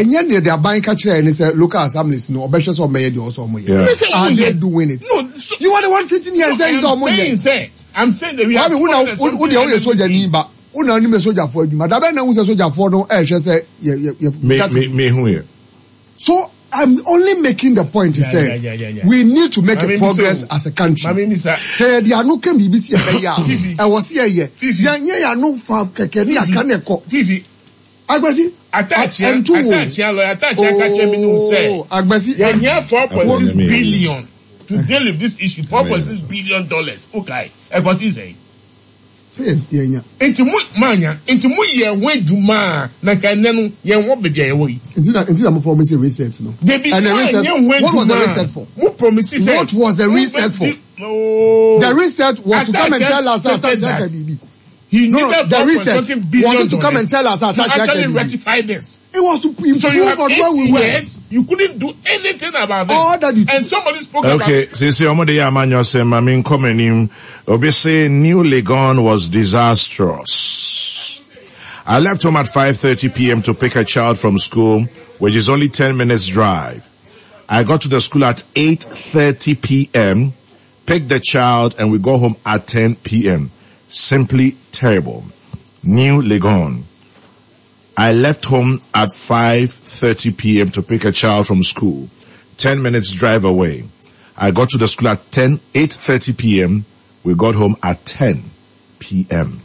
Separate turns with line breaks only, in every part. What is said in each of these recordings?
Ɛnyɛ deɛ de aban ka kyerɛ ne sɛ local assemblies no ɔbɛhwɛ sɛ ɔmɛyɛ deɛ ɔsɛ ɔmo yɛ. Are they doing it?
No, so,
You are the one sitting here and saying
no,
sɛ ɔmo
I'm saying
yɛ.
sɛ, I'm saying that we have
Kwame, wo na wo deɛ woyɛ sogyani ba. Wo na wonim sogyafoɔ adwuma. Dabɛn na wohu sɛ sogyafoɔ no ɛrehwɛ sɛ yɛ yɛ yɛ.
Me me me hu yɛ.
So I'm only making the point
Yeah,
sɛ
yeah.
we need to make
Mame
a
mi
progress
sɛ o.
as a country.
Mame mi sa.
Sɛ yɛde ano ka biribi si yɛbɛyɛ a,
Fifi.
ɛwɔ sɛ yɛyɛ.
Fifi.
Yɛnyɛ yɛn ano fa kɛkɛ ne yɛaka ne ɛkɔ.
Fifi.
Agbasi,
Atakyea,
ɛnto wo.
Atakyea, lawyer Atakyea ka kyerɛ me ne wo sɛ,
Oh, Agbasi.
yɛhia 4.6
Ɛnyɛ me.
billion to deal with this issue, 4.6 billion dollars. Okay, ɛkɔsi sɛn?
Sɛ yɛn yɛnya.
Nti mo manya, nti mo yɛ ho adwuma a, na nka ɛnnɛ no yɛn wɔ baabi a yɛwɔ yi.
Nti na nti na mo promise reset no.
Debi,
And the reset,
moanyɛ ho
what was the
adwuma a,
reset for?
mo promise sɛ.
What was the reset for?
Oh.
The reset was to come and
Atakyea
tell us that
stated
Atakyea
that
ka biribi.
He
No,
needed
the
4.something
reset
billion
was it to come and
dollars
tell us
to
Atakyea ka
actually
biribi.
rectify this.
It was to improve
So you have
on
8
where we were.
years, you couldn't do anything about this.
All that you
And somebody spoke
Okay,
about
sisi ọmọ de yɛ amanyɔ sɛ maame nkɔ m'anim. Obi say New Legon was disastrous. I left home at 5:30 p.m. to pick a child from school, which is only 10 minutes drive. I got to the school at 8:30 p.m., picked the child, and we got home at 10 p.m. Simply terrible. New Legon. I left home at 5:30 p.m. to pick a child from school, 10 minutes drive away. I got to the school at 8:30 p.m. We got home at 10 p.m.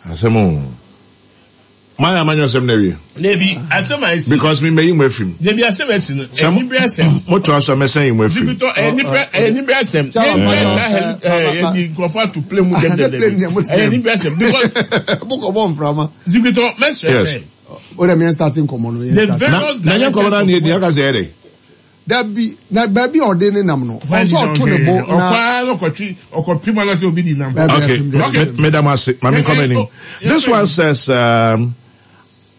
Asemo. My amanyo asem na wie.
Debi, asem a esi.
Because me me yi fim.
Debi, asem a esi no,
Sɛ mo-
ɛni bere asem.
Moto aso mɛsɛn yi mu afim.
Zibitɔ, ɛni bere asem.
Chairman,
Yɛn bere saa heli, yɛdi nkurɔfoɔ ato plane mu dɛm
Sɛ
dɛm
plane deɛ
dɛm.
mo te
Ɛni bere asem because
Bokɔ bɔ mframa.
Zibitɔ, mɛsrɛ
Yes.
sɛ,
O de mi yɛn starting nkɔmɔ no. Yɛn
The
start.
very-
Na na nyɛ nkɔmɔ na ne yɛ aka sɛ yɛ dɛ.
Dabi na baabi a ɔde ne nam no. Ɔsɛ ɔto ne bo na.
Ɔkɔ ɔkɔtwi ɔkɔpi mu anase obi di nam.
Dabi,
Okay,
dabi, dabi.
Madam Ase, Mami come in. This one says,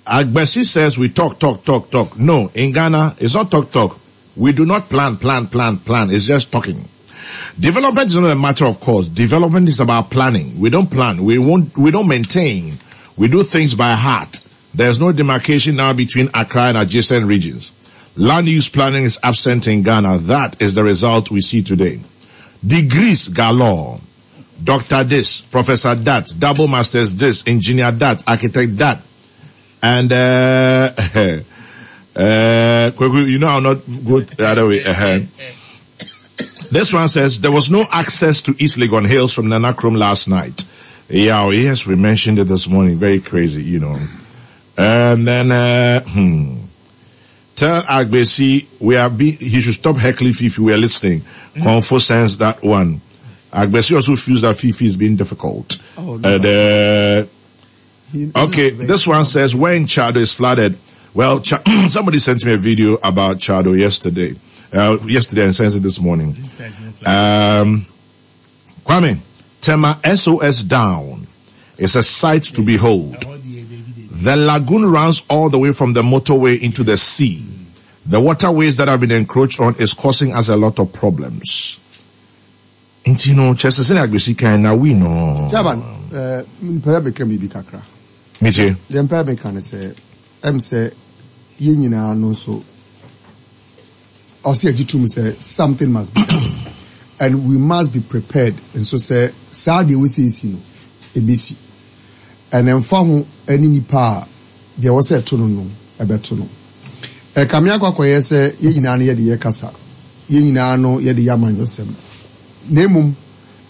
Agbesi says we talk, talk, talk, talk. No, in Ghana, it's not talk, talk. We do not plan, plan, plan, plan. It's just talking. Development is not a matter of course. Development is about planning. We don't plan. We won't, we don't maintain. We do things by heart. There's no demarcation now between Accra and adjacent regions. Land use planning is absent in Ghana. That is the result we see today. Degrees galore. Doctor this, professor that, double masters this, engineer that, architect that. And, Kweku, you know I'll not go the other way. This one says, there was no access to East Legon Hills from Nanakrom last night. Yeah, oh, yes, we mentioned it this morning. Very crazy. And then, Tell Agbesi he should stop heckling Fifi. We are listening. Comfort sends that one. Agbesi also feels that Fifi is being difficult.
Oh, no.
And
He
okay,
knows
this one says when Chado is flooded. Well, somebody sent me a video about Chado yesterday. Yesterday and sent it this morning. Kwame, Tema SOS down. It's a sight to behold. The lagoon runs all the way from the motorway into the sea. The waterways that have been encroached on is causing us a lot of problems. Nti no, kyerɛ sɛ sɛnea Agbesi kan na we know.
Chairman, mpɛ bɛka biribi kakra.
Metie.
Deɛ mpɛ bɛka ne sɛ, ɛm sɛ yɛn nyinaa no nso, ɔsɛ yɛgye tom sɛ something must be done. And we must be prepared. Nso sɛ saa deɛ wɔsiesie no, ebesi. And ɛmfa ho ne nipa a deɛ wɔsɛ ɛto no no, ɛbɛto no. Ɛkame akɔ akɔyɛ sɛ yɛn nyinaa no yɛde yɛ kasa. Yɛn nyinaa no yɛde yɛ amanyɔsɛm. Na mmom,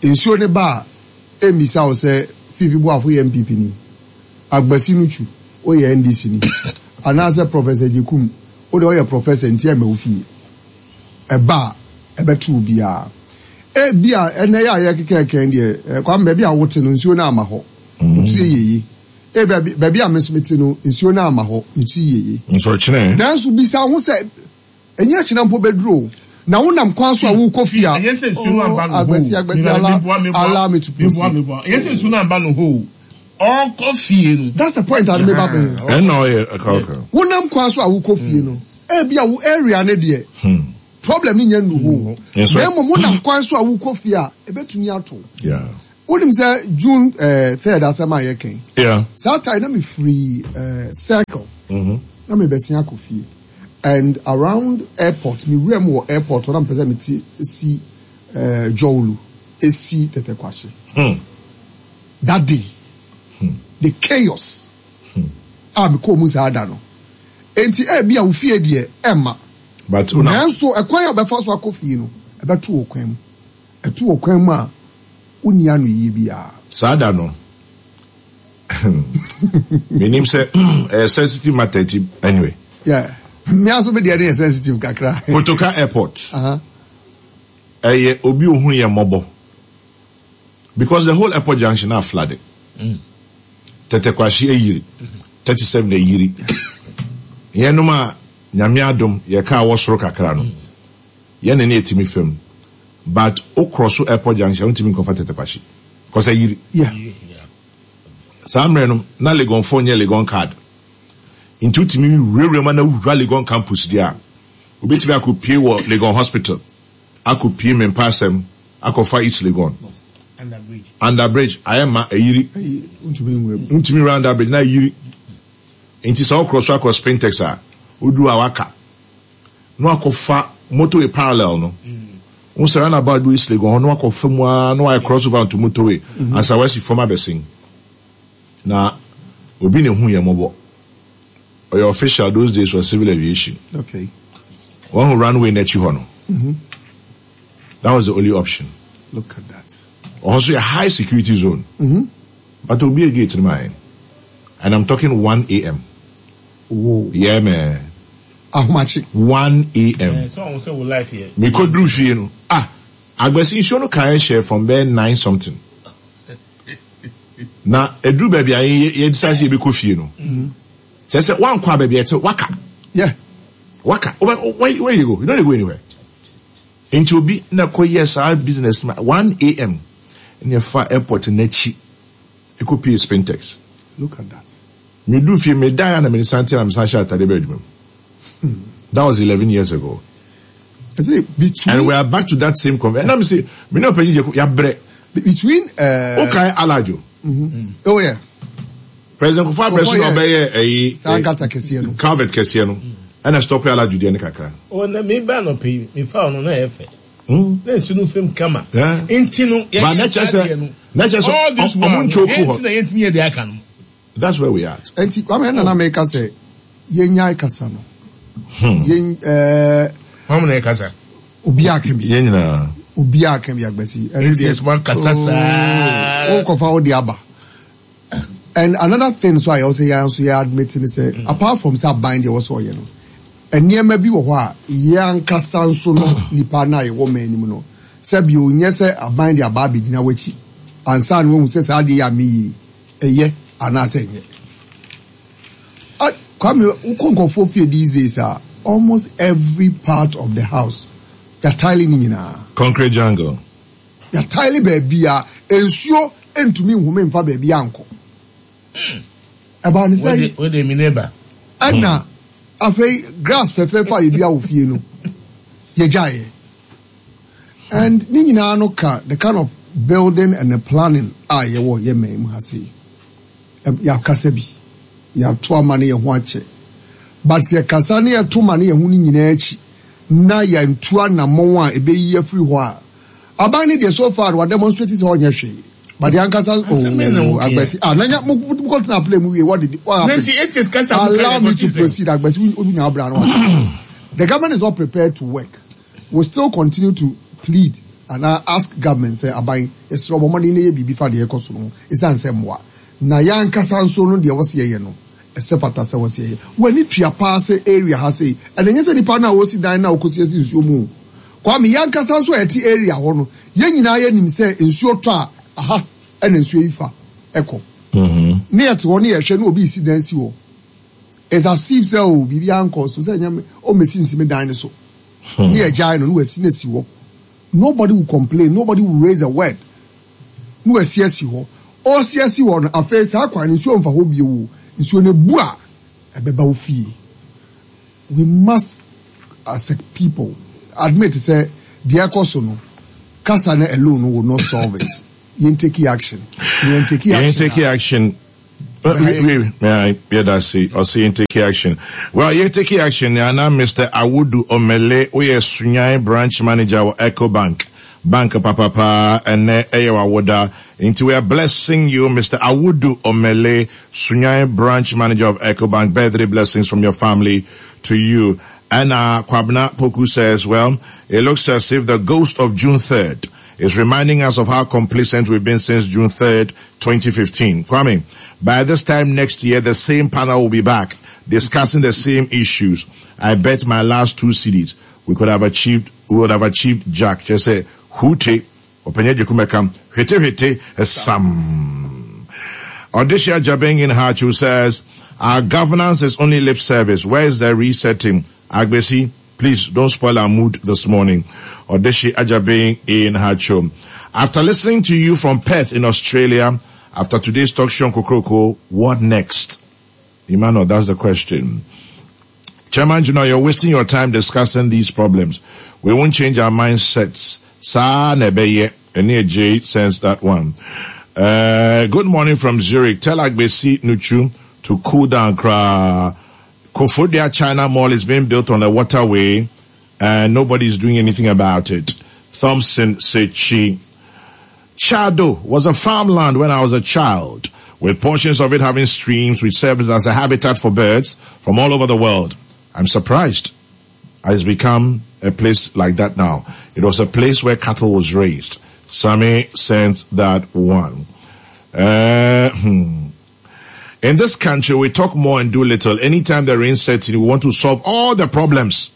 nsuo ne ba a, ɛmmisa wo sɛ Fifi Boafo yɛ NPP ni, Agbasi no twu, woyɛ NDC ni, anaasɛ Professor Gyekum, wode ɔyɛ professor nti ɛmma wo fie. Ɛba a, ɛbɛto obiara. Ebi a ɛnɛ yɛ a yɛkeka kɛn deɛ, Kwame, baabi a wote no, nsuo no ama hɔ. Wotie yeye. Baabi a me nso mete no, nsuo no ama hɔ. Metie yeye.
Nso kyerɛ.
Nanso bisa ho sɛ, ɛnyɛ kyena mpo bɛduru o. Na wonam kwan so a wokɔ fie a,
Ɛnyɛ sɛ nsuo no amba no hɔ o.
Agbasi, Agbasi, ala me to proceed.
Ɛnyɛ sɛ nsuo no amba no hɔ o. Ɔkɔ fie no.
That's the point a meba bɛn.
Ɛnna ɔyɛ ɛka ɔka.
Wonam kwan so a wokɔ fie no, ebi a wo area ne deɛ, problem ne nyɛ nnu hɔ o.
Yes, sir.
Na mmom wonam kwan so a wokɔ fie a, ebetumi ato. Wonim sɛ June 3rd asɛm a yɛka yi,
Yeah.
saa time na mefiri eh, circle
Mm-hmm.
na mebɛsen akɔ fie and around airport mewura mu wɔ airport hɔ na mepɛ sɛ mete si eh, Jɔwlu esi Tɛtɛ Kwahye. That day, the chaos a mekɔɔ mu saa da no. Enti ebia wo fie deɛ ɛmma.
But una.
Nanso ɛkwan a wobɛfa so akɔ fie no, ɛbɛto wo kwan mu. Ɛto wo kwan mu a, wonni anoyie biara.
Saa da no, menim sɛ ɛyɛ sensitive matter nti anyway.
Yeah, me ara nso me deɛ no yɛ sensitive kakra.
Kotoka airport, ɛyɛ obi ohunu yɛ mmɔbɔ because the whole airport junction na flooded. Tɛtɛ Kwahye ayiri, 37 ayiri. Yɛnom a Nyame adom yɛ car wɔ soro kakra no, yɛn na ne yɛtumi fam. But wo cross airport junction a wontumi nkɔfa Tɛtɛ Kwahye because ayiri.
Yeah.
Saa mmerɛ no na Legonfoɔ nyɛ Legon card. Nti wotumi wurawura mu na wura Legon campus deɛ a, wobɛtumi akɔpue wɔ Legon hospital, akɔpue Mempasɛm, akɔfa East Legon. Under bridge ayɛ ma ayiri. Wontumi nwura under bridge na ayiri. Nti sɛ wokorɔ so akɔ Spintex a, woduru a waka. Na wakɔfa motorway parallel no. Wo sɛ roundabout bi wɔ East Legon hɔ na wakɔfa mu ara na wayɛ cross over onto motorway ansa wasi fam abɛsen. Na obi na ehu yɛn mmɔbɔ. Ɔyɛ official those days wɔ civil aviation.
Okay.
Wahu runway n'akyi hɔ no. That was the only option.
Look at that.
Ɔhɔ nso yɛ high security zone. But obi gate no ma yɛn. And I'm talking 1 a.m.
Whoa.
Yeah, man.
Ahomakye.
1 a.m.
Eh, so ɔho sɛ wo life yɛ.
Mekɔduru fie no, ah, Agbasi nsuo no kaeɛ hyɛɛ from bɛyɛ 9 something. Na ɛduru baabi a yɛ yɛ decide sɛ yɛbɛkɔ fie no. Kyerɛ sɛ woankɔ a baabi a ɛte waka.
Yeah.
Waka. Wobɛ, where, where you go? You don't go anywhere. Nti obi na kɔ yɛ saa business ma 1 a.m. na ɛfa airport n'akyi ɛkɔ pie Spintex.
Look at that.
Meduru fie, medaeɛ a na me nsa nte na mesan hyɛ atade bɛɛ adwuma mu. That was 11 years ago.
I say between.
And we are back to that same conversation. And I'm say, me no penny yabrɛ.
Between.
Okay, Alajo.
Oh yeah.
President Kufuor abirɛ so na ɔbɛyɛ ɛyi.
Saa gata kɛseɛ no.
Calvert kɛseɛ no. Ɛna stop Alajo deɛ ne kakra.
O na mi ba no pɛ mi fa ɔno na yɛ fɛ. Na nsu no fam kama. Nti no yɛ yɛ saa deɛ no.
Na kyerɛ sɛ
All this
ɔmo
while no
nkyɛ oku
yɛn
hɔ.
ti na yɛn ti yɛ deɛ aka no.
That's where we are.
Nti Kwame ɛna na meka sɛ yɛnyae kasa no. Yɛn ɛɛ.
Wɔn na ɛkasa.
Obi aka bi.
Yɛn nyinaa.
Obi aka bi agbasi.
Nti ɛsɛ wɔn kasa saa.
O kɔfa o de aba. And another thing so a yɛwɔ sɛ yɛn nso yɛ admit ne sɛ apart from sɛ aban deɛ wɔ sɛ ɔyɛ no nneɛma bi wɔ hɔ a yɛn ankasa nso no nipa no a yɛwɔ man anim no sɛ bio nyɛ sɛ aban de aba abɛgyina w'akyi ansa na wahu sɛ saa adeɛ yɛ a meyɛ ɛyɛ anaasɛ ɛnyɛ. Kwame, wokɔ nkurɔfoɔ fie these days a, almost every part of the house, yɛataele ne nyinaa.
Concrete jungle.
Yɛataele baabi a nsuo ntumi nhome mfa baabi ankɔ. Ɛbaa ne sɛ.
Wode mi neighbor.
Ɛna afei grass fɛfɛɛfɛ a yɛdua wɔ fie no, yɛgyaeɛ. And ne nyinaa no ka the kind of building and the planning a yɛwɔ yɛ man mu ha sei. Yɛakasa bi, yɛato ama ne yɛn ho akyɛ. But sɛ yɛkasa ne yɛto ma ne yɛn ho no nyinaa akyi na yɛantu anammɔn a ɛbɛyi afiri hɔ a, aban no deɛ so far no wademonstrate sɛ ɔnyɛ hwee. But yɛn ankasa oh Agbasi ah na nya mo mo kɔ tena plane mu wie what did what happened? Allow me to proceed Agbasi wo nya abira no. The government is not prepared to work. We still continue to plead and ask government sɛ aban yɛsrɛ wɔn mmɔden na yɛ biribi fa deɛ ɛkɔ so no ho ɛsiane sɛ mmoa na yɛn ankasa nso no deɛ wɔsi yɛyɛ no ɛsɛ fata sɛ wɔsi yɛyɛ. W'ani tua paa sɛ area ha sei ɛna ɛnyɛ sɛ nipa no a ɔsi dan no a ɔkɔsi asi nsuo mu o. Kwame yɛn ankasa nso a yɛte area hɔ no yɛn nyinaa yɛnim sɛ nsuo tɔ a aha ɛna nsuo yi fa ɛkɔ. Ne yɛte hɔ ne yɛhwɛ ne obi resi dan si hɔ. It's as if sɛ o biribi ankɔ so sɛ ɛnyɛ ɔmmɛsi nsi me dan no so. Ne yɛgyae no ne wasi no asi hɔ. Nobody will complain, nobody will raise a word. Ne wasi asi hɔ. Ɔresi asi hɔ no afei saa kwan no nsuo mfa hɔ bio o. Nsuo no ebu a ɛbɛba wo fie. We must as a people admit sɛ deɛ ɛkɔ so no kasa no alone will not solve it. Yɛn take action. Yɛn take action.
Yɛn take action. Yeah, that's it. I'll see take action. Well, you take action. And I'm Mr. Awudu Omele, we are Sunyai branch manager of Eco Bank. Bank Papa Pa and Eyawawoda. Into we are blessing you, Mr. Awudu Omele, Sunyai branch manager of Eco Bank. Birthday blessings from your family to you. And uh, Kwabna Poku says, well, it looks as if the ghost of June 3rd is reminding us of how complacent we've been since June 3rd, 2015. Kwame, by this time next year, the same panel will be back discussing the same issues. I bet my last two CDs we could have achieved, we would have achieved Jack. Just say, hute, openye jekumekam, hete hete, sam. Odisha Jabing in Hachu says, our governance is only lip service. Where is the resetting? Agbesi, please don't spoil our mood this morning. Odeshi Ajabing in Hacho. After listening to you from Perth in Australia, after today's talk show on Kokroko, what next? Emmanuel, that's the question. Chairman Junior, you're wasting your time discussing these problems. We won't change our mindsets. Sa nebeye. J sends that one. Uh, good morning from Zurich. Tell Agbesi Nuchu to cool down. Kra. Kofodia China Mall is being built on the waterway and nobody's doing anything about it. Thompson Sechi. Chado was a farmland when I was a child, with portions of it having streams which served as a habitat for birds from all over the world. I'm surprised it's become a place like that now. It was a place where cattle was raised. Sammy sent that one. Uh, hmm. In this country, we talk more and do little. Anytime the rain sets in, we want to solve all the problems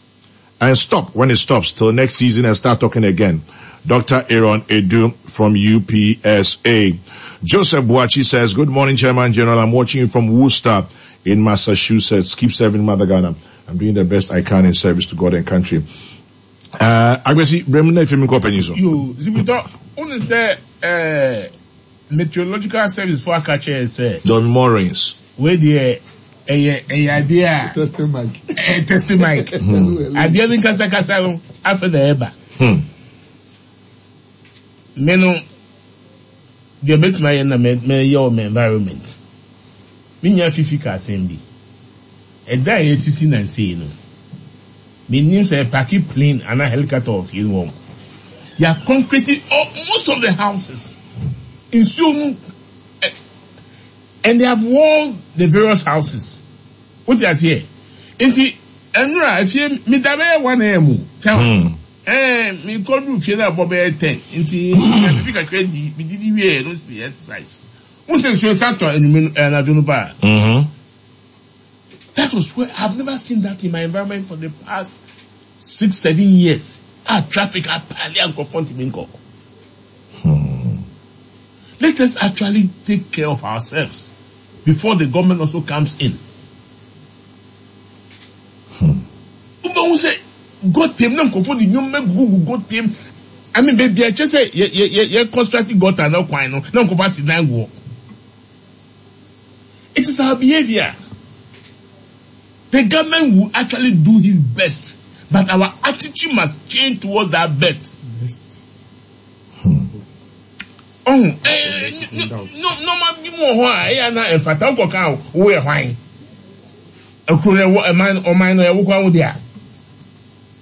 and stop when it stops till next season and start talking again. Dr. Aaron Edu from UPSA. Joseph Boachi says, Good morning, Chairman General. I'm watching you from Worcester in Massachusetts. Keep serving Mother Ghana. I'm doing the best I can in service to God and country. Uh, Agbesi, Bremina Efemi Kɔpɛni so.
Yo, Zibitɔ, wone sɛ eh, meteorological service fo aka kyerɛ sɛ.
There will be more rains.
Wei deɛ ɛyɛ ɛyɛ adeɛ a.
Testing mic.
Ɛyɛ testing mic. Hmm. Adeɛ no nkasakasa no afɛ na ɛba.
Hmm.
Me no deɛ mɛtumi ayɛ na mɛyɛ wɔ my environment. Me nua Fifi ka asɛm bi. Ɛdan a yɛasisi nansa yi no, mennim sɛ yɛpake plane anaa helicopter wɔ fie no hɔ. Yɛ concrete all, most of the houses. Nsuo no, eh, and they have walled the various houses. Wote aseɛ? Nti, ɛnora afie, meda bɛyɛ 1 a.m. o. Kyɛw. Hmm. Eh, mekɔduru fie no abɔ bɛyɛ 10. Nti, biribi kakra di, medidi wieɛ no, si exercise. Wo sɛ nsuo nsa tɔ anwummerɛ no, anadwo no paa.
Mm-hmm.
That was where I've never seen that in my environment for the past six, seven years. Ah, traffic apali nkurɔfoɔ ntumi nkɔ.
Hmm.
Let us actually take care of ourselves before the government also comes in.
Hmm.
Wobɛhu sɛ gɔtɛm na nkurɔfoɔ de nneɛma gugugu gɔtɛm. I mean, baabi a ɛkyɛ sɛ yɛ yɛ yɛ yɛ construct gutter na kwan no na nkurɔfoɔ asi dan guɔ. It is our behavior. The government will actually do his best, but our attitude must change towards that best.
Best.
Hmm.
Oh, eh, no, no, ma bi mu wɔ hɔ a ɛyɛ na mfata wokɔ kan wo yɛ hwan ekuro no ɛwɔ ɛman ɔman no ɛwɔ kwan wo deɛ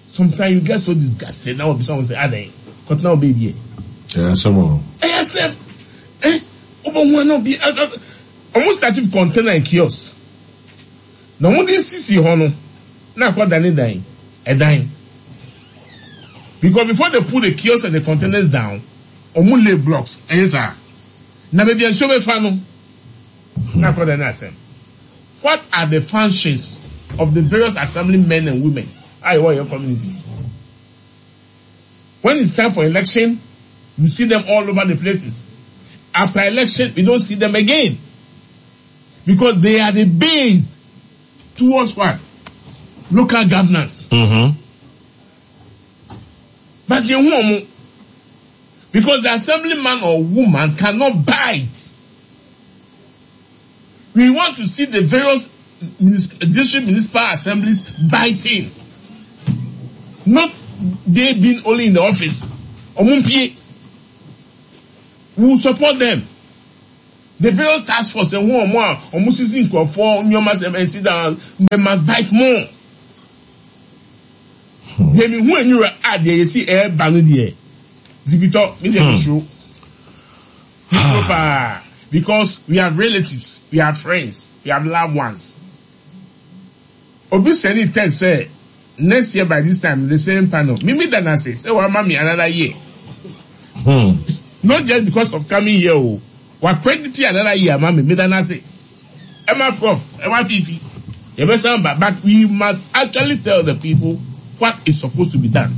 sometimes you get so disgusted na wɔbisa wɔn sɛ adan kɔtena wo beebi yɛ.
Ɛyɛ asɛm o.
Ɛyɛ asɛm eh wobɛhu ana obi wɔn start with container and kiosk na wɔn de sisi hɔ no na akɔ dane dan ɛdan because before they put the kiosk and the containers down wɔn lay blocks ɛyɛ saa na baabi a nsuo bɛfa no na akɔ dane asɛm what are the functions of the various assembly men and women a yɛwɔ yɛn communities when it's time for election you see them all over the places after election we don't see them again because they are the base towards what local governance.
Mm-hmm.
But yɛn hu wɔn because the assemblyman or woman cannot bite. We want to see the various district municipal assemblies biting. Not they being only in the office. Ɔmo mpie. We will support them. The various task force ɛho wɔn a wɔn sisi nkurɔfoɔ nneɛma sɛ ɛnsi down they must bite more. Deɛ mi hu enwura a deɛ yɛsi ɛɛba no deɛ zibitɔ mi deɛ mi suro. Mi suro paa because we have relatives, we have friends, we have loved ones. Obi sɛnii text sɛ next year by this time the same panel. Me me da no ase sɛ wama me another year. Hmm. Not just because of coming here o. Wa credit another year ama me. Me da no ase. Ɛma prof, ɛma fifi. Yɛbɛsan ba but we must actually tell the people what is supposed to be done.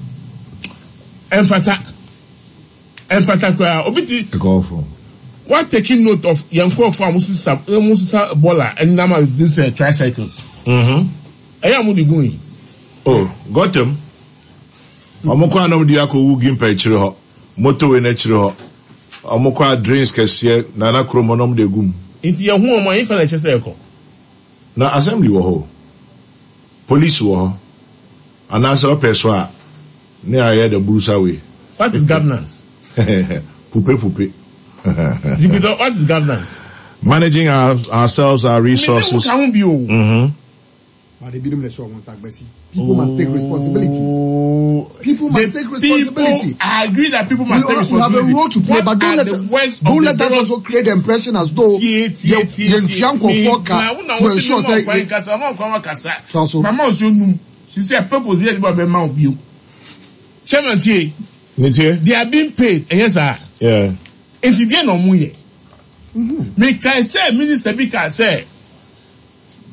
Ɛmfata. Ɛmfata koraa. Obi ti.
Ɛkɔɔfo.
Wa taking note of yɛn nkurɔfoɔ a wɔsesa wɔsesa bɔɔla ɛnam a these uh, tricycles.
Mm-hmm.
Ɛyɛ a wɔn de gu yi.
Oh, gɔtɛm. Wɔn kɔ anam de akɔ wu gimpa akyire hɔ, motorway n'akyire hɔ. Wɔn kɔ a drains kɛseɛ nana kurom hɔ na wɔn de gu mu.
Nti yɛn ho wɔn a yɛn fa na ɛkyɛ sɛ ɛkɔ.
Na assembly wɔ hɔ, police wɔ hɔ, anaasɛ ɔpɛ so a. Ne ayɛ the burusa way.
What is governance?
Pupe pupe.
Jupiter, what is governance?
Managing our, ourselves, our resources.
Mm-hmm.
But ebinom na ɛhyɛ wɔn nsa agbasi. People must take responsibility. People must
the
take responsibility.
People, I agree that people must
we
take
We have
responsibility.
a role to play,
What
but don't
are
let
the works of
don't
the
let that
various
also create the impression as though
tie tie tie
yɛntua nkurɔfoɔ ka to ensure sɛ
kwan kasa ɔma kwan kasa
Toa so.
mama ɔsɛ onum sisi a purpose bi a ɛde ba ɔbɛma wo bio chairman tie
Nitie.
they are being paid ɛyɛ saa
Yeah.
nti deɛ na ɔmo yɛ mekae sɛ minister bi kaa sɛ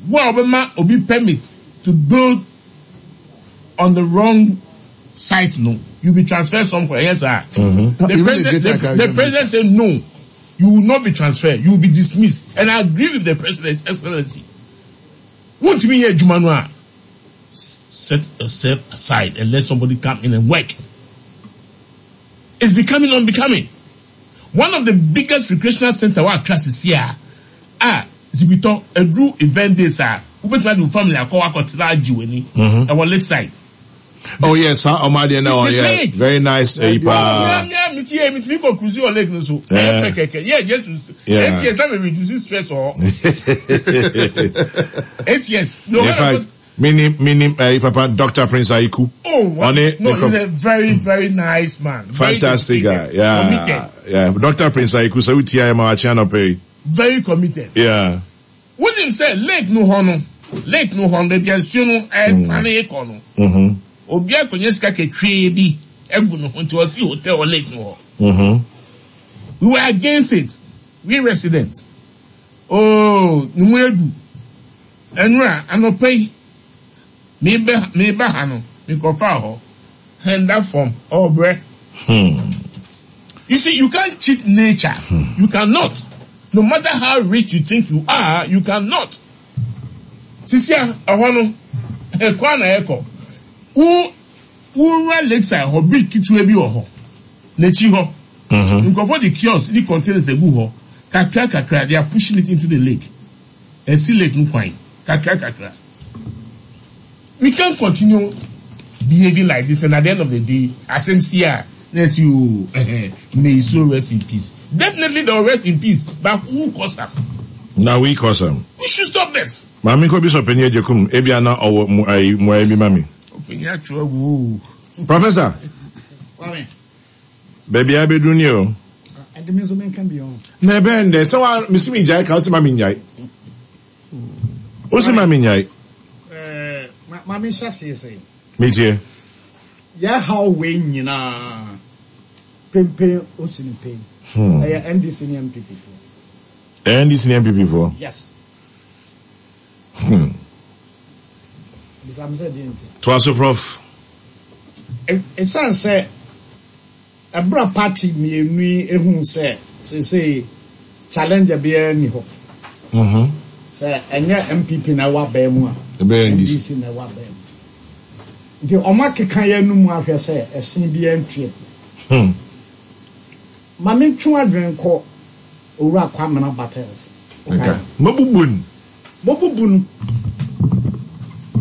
wo a ɔbɛma obi permit to build on the wrong site no you be transferred somewhere ɛyɛ saa the
Even
president
the greater
the, the president said no you will not be transferred you will be dismissed and I agree with the president his excellency wontumi yɛ adwuma no a set yourself aside and let somebody come in and work. It's becoming unbecoming. One of the biggest recreational center wɔ Accra sisi a a Zibitɔ aduru event days a wobɛtumi ade wo family akɔ akɔtena agye w'ani ɛwɔ lakeside.
Oh yes, huh? Oh my dear, no,
The
yeah,
lake.
very nice. Eh, pa.
Mia mia mi ti yɛ mi ti mi kɔ cruise wɔ lake no so. Ɛyɛ fɛ kɛkɛ yɛ just to
Yeah.
8 years na mi reduce stress wɔ hɔ. 8 years. No,
In
when I
fact,
go-
mini mini eh, papa Dr. Prince Aiku.
Oh, what?
Ɔne
No,
ne
he's a very, very nice man. Very
fantastic guy.
dedicated,
Yeah.
Committed.
Yeah. Dr. Prince Aiku so utia ma achi anope.
Very committed.
Yeah.
Wonim sɛ lake no hɔ no, lake no hɔ no, baabi a nsuo no ɛsane kɔ no, obi akɔnya sika ketwee bi agu ne ho nti ɔsi hotel wɔ lake no hɔ. We were against it. We residents. Oh, ne mu edu. Ɛnura anɔpa yi, meba meba ha no, mekɔfaa hɔ. Hɛnda fam, ɔbrɛ. You see, you can't cheat nature. You cannot. No matter how rich you think you are, you cannot. Sisi a ɛhɔ no, ɛkɔ na ɛkɔ. Wo wura lakeside hɔ, bridge ketewa bi wɔ hɔ. N'akyi hɔ. Nkurɔfoɔ de kiosk ne containers egu hɔ. Kakra kakra, they are pushing it into the lake. Ɛsi lake no kwan. Kakra kakra. We can't continue behaving like this and at the end of the day, asɛm si a, na ɛsi o, ɛhɛn, may his soul rest in peace. Definitely they will rest in peace, but who cause am?
Now we cause am.
We should stop this.
Maame nkɔ bi sɔ panyin agyekum ebi ana ɔwɔ mu ayi mu ayi bi ma mi.
Ɔpanyin atwerɛ agu o.
Professor.
Kwame.
Baabi a bɛduru ni o.
Ɛde mi nso mi nka bi o.
Na ɛbɛn dɛ sɛ wa mesi mi gyae ka o si ma mi nyae. O si ma mi nyae.
Ɛɛ ma mi nhyɛ aseɛ sɛ.
Mi tie.
Yɛ haw wei nyinaa pempen osi ne pen. Ɛyɛ NDC ne NPP foɔ.
Ɛyɛ NDC ne NPP foɔ.
Yes. Bisa mi sɛ deɛ nti.
Toa so prof.
Ɛsiane sɛ ɛberɛ party mmienu yi ehu sɛ seesei challenger biara ni hɔ. Sɛ ɛnyɛ NPP na ɛwɔ abɛn mu a.
Ɛbɛyɛ NDC.
NDC na ɛwɔ abɛn mu. Nti ɔmo akeka yɛn no mu ahwɛ sɛ ɛsen biara ntua. Maame ntwe adwene kɔ Owura Kwamina Battles.
Nka. Mobubu no.
Mobubu no.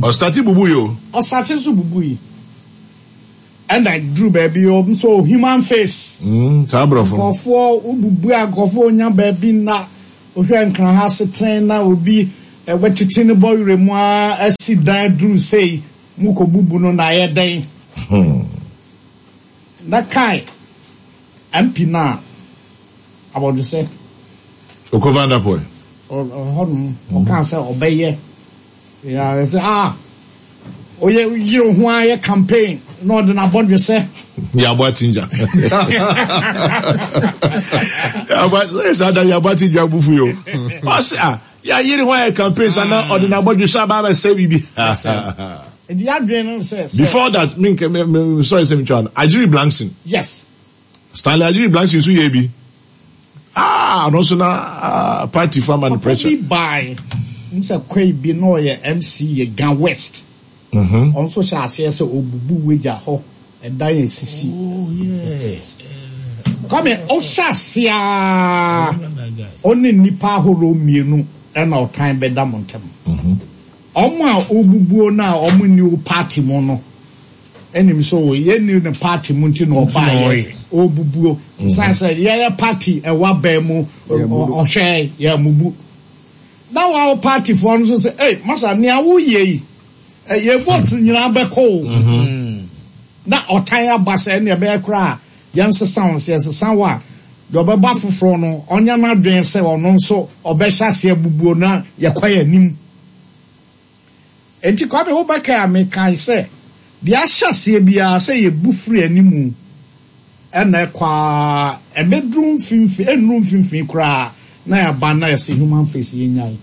Ɔstarte bubu yi o.
Ɔstarte nso bubu yi. Ɛna duru baabi ɔm so human face.
Saa aborɔfo no.
Nkurɔfoɔ wobubu a nkurɔfoɔ nya baabi nna. Wohwɛ Nkran ha asetena na obi watiti ne bɔwerɛ mu ara asi dan duru sei, mokɔbubu no na ayɛ dɛn? Na kae MP no a abɔdwesɛ.
Oko Vanderpoel.
Ɔhɔnom ɔkaa sɛ ɔbɛyɛ. Yeah, sɛ ah, oyɛ yere ho ara yɛ campaign na ɔde n'abɔdwesɛ.
Yabɔ atinja. Yabɔ sɛ saa da yabɔ atinja bufu yo. Ɔsɛ ah, ya yere ho ayɛ campaign sa na ɔde n'abɔdwesɛ aba abɛsɛ biribi.
Nti yadwene no sɛ.
Before that, me me me sorry sɛ me twa no. Ajiri Blankson.
Yes.
Stanley Ajiri Blankson nso yɛ bi. Ah, ɔno nso na ah, party fo ama no pressure.
Papa bi bae, n sɛ kwai bi na ɔyɛ MC yɛ Ga West. Ɔno nso hyɛ aseɛ sɛ ɔbubu wagya hɔ ɛdan esisi.
Oh, yes.
Kwame, ɔhyɛ aseɛ a ɔne nnipa ahorow mmienu ɛna ɔtan bɛda mo ntam. Ɔmo a ɔbubuo no a ɔmo nni wo party mu no Ɛnim sɛ o yɛnni ne party mu nti na ɔbaeɛ ɔrebubuo. San sɛ yɛyɛ party ɛwɔ abɛn mu ɔhwɛ yɛn mubu. Na wa wo party foɔ no nso sɛ ei masa nea woyɛ yi yɛn vote nyinaa bɛkɔ o. Na ɔtan aba sɛ ɛnna ɛbɛyɛ koraa a yɛnsesa wo sɛ yɛsesa wo a deɛ ɔbɛba foforɔ no ɔnyɛ n'adwene sɛ ɔno nso ɔbɛhyɛ aseɛ bubuo na yɛkɔ yɛn anim. Enti Kwame wobɛkae a mekae sɛ deɛ ahyɛ aseɛ biara sɛ yɛbu firi animu ɛna ɛkɔ ara ɛbɛduru mfimfini ɛnnuru mfimfini koraa na yɛaba na yɛsɛ human face yɛnyae.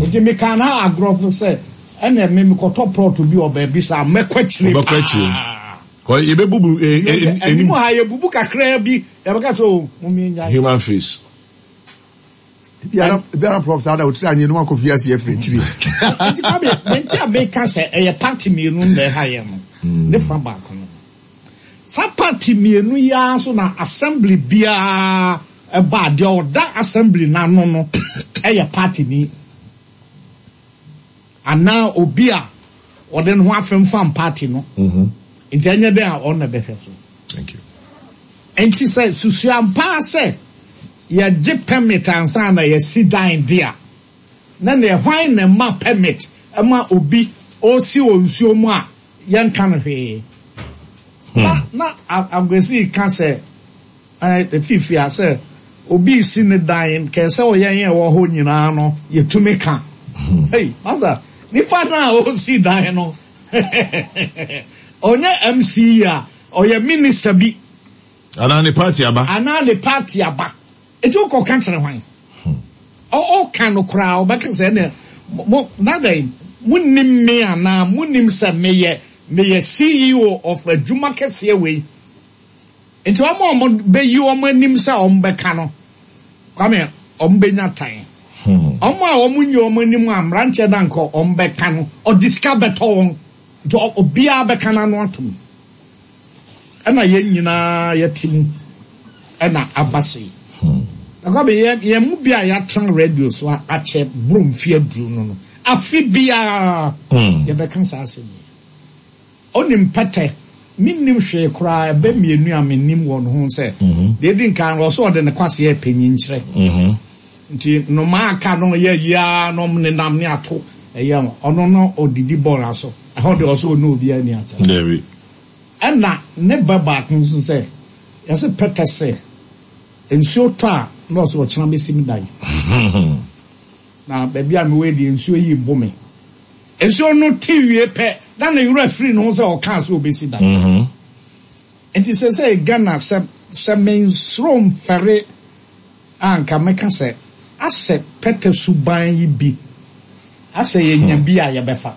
Enti mekaa no agorɔ so sɛ ɛna me mekɔtɔ plot bi wɔ baabi saa mɛkɔ akyire
Wobɛkɔ akyire.
paa.
Kɔ yɛbɛbubu eh, eh,
Anim ha yɛbubu kakraa bi yɛbɛka sɛ o mom yɛnyae.
Human face.
Ebiara prof saa da otiri anyi no akɔ fi ase afiri akyiri.
Nti Kwame, deɛ nti a meka sɛ ɛyɛ party mmienu na ɛha yɛn no, ne fa baako no. Saa party mmienu yi ara nso na assembly biara ɛba a, deɛ ɔda assembly no ano no yɛ party ni. Anaa obi a ɔde ne ho afemfam party no. Nti ɛnyɛ dɛn a ɔno na ɛbɛhwɛ so.
Thank you.
Nti sɛ susuampa ara sɛ yɛgye permit ansa na yɛasi dan de a, na neɛ hwan na ɛma permit ma obi ɔresi wɔ nsuo mu a yɛnka no hwee. Na na Aguesi ka sɛ Ɛɛ, a sɛ obi resi ne dan, kɛɛ sɛ ɔyɛn a ɛwɔ hɔ nyinaa no, yɛtumi ka. Hey, masa, nipa no a ɔresi dan no, ɔnyɛ MC a, ɔyɛ minister bi.
Anaa ne party aba.
Anaa ne party aba. Eti wokɔka kyerɛ hwan? Ɔka no koraa, ɔbɛka sɛ ɛnna mo na dɛn monim me anaa monim sɛ meyɛ meyɛ CEO of adwuma kɛseɛ wei. Nti wɔn a wɔbɛyi wɔn anim sɛ wɔbɛka no, Kwame, wɔbɛnya tan. Wɔn a wɔnyi wɔn anim a mmeranteɛ no anka wɔbɛka no, ɔde sika bɛtɔ wɔn. Nti obiara bɛka n'ano atom. Ɛna yɛn nyinaa yɛte mu ɛna aba sei. Na Kwame, yɛn mu bi a yɛatena radio so akyɛ boro mfeɛ aduonu no, afe biara yɛbɛka saa asɛm yi. Onim pɛtɛ. Mennim hwee koraa, ɛbɛ mmienu a menim wɔ ne ho sɛ, deɛ ɛdi nkan no, ɔsɛ ɔde ne kwasea repɛ nyinkyerɛ. Nti nnomaa aka no yɛ ayi ara na wɔnenam ne ato ɛyɛ ho. Ɔno no ɔdidi bɔɔla so. Ɛhɔ deɛ ɔsɛ ɔne obiara nni asɛm.
Dabi.
Ɛna ne bɛ baako nso sɛ, yɛse pɛtɛ sɛ nsuo tɔ a na ɔsɛ ɔkyena mɛsi me dan. Na baabi a mewɔ yi deɛ nsuo yi rebo me. Nsuo no te wie pɛ na ne werɛ firi ne ho sɛ ɔkaa sɛ ɔbɛsi dan. Nti seesei Ghana sɛ sɛ mensuro mfɛre a nka mɛka sɛ asɛ pɛtɛ suban yi bi asɛ yɛnya bi a yɛbɛfa.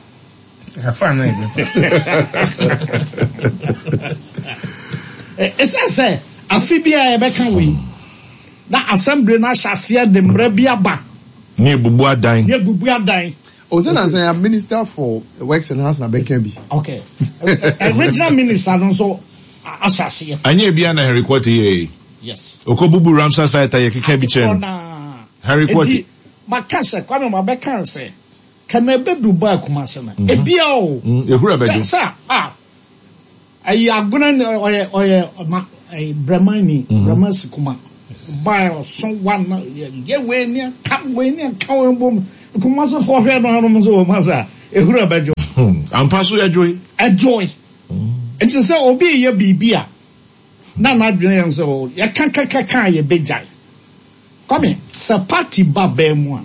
Yɛfa anaa yɛbɛfa?
Ɛsiane sɛ afe biara yɛbɛka wei na assembly no ahyɛ aseɛ de mmara bi aba.
Ne ebubu adan.
Ne ebubu adan.
O sɛ nansa ya minister for works and housing abɛka bi.
Okay. Regional minister no nso ahyɛ aseɛ.
Anyɛ ebia na Henry Quartey yɛɛ yi.
Yes.
Okɔ bubu Ramsar site a yɛkeka bi kyerɛ no. Henry Quartey.
Eti maka sɛ Kwame mabɛka sɛ kana ebedu baa Kumase no. Ebia o.
Ehura bɛdwo.
Sɛ sɛ ah. Ɛyi agona ni ɔyɛ ɔyɛ ma ɛyi brɛman ni brɛman sikuma ba ɔso wa na yɛ yɛ wei ni ɛka wei ni ɛka wei bom kumase fo hwɛ no anom sɛ wɔn asa ehuru ɛbɛdwo.
Ampa so ɛdwoe.
Ɛdwoe. Nti sɛ obi yɛ biribi a na n'adwene yɛn sɛ o yɛka kɛkɛ a yɛbɛgyae. Kwame sɛ party ba bɛn mu a.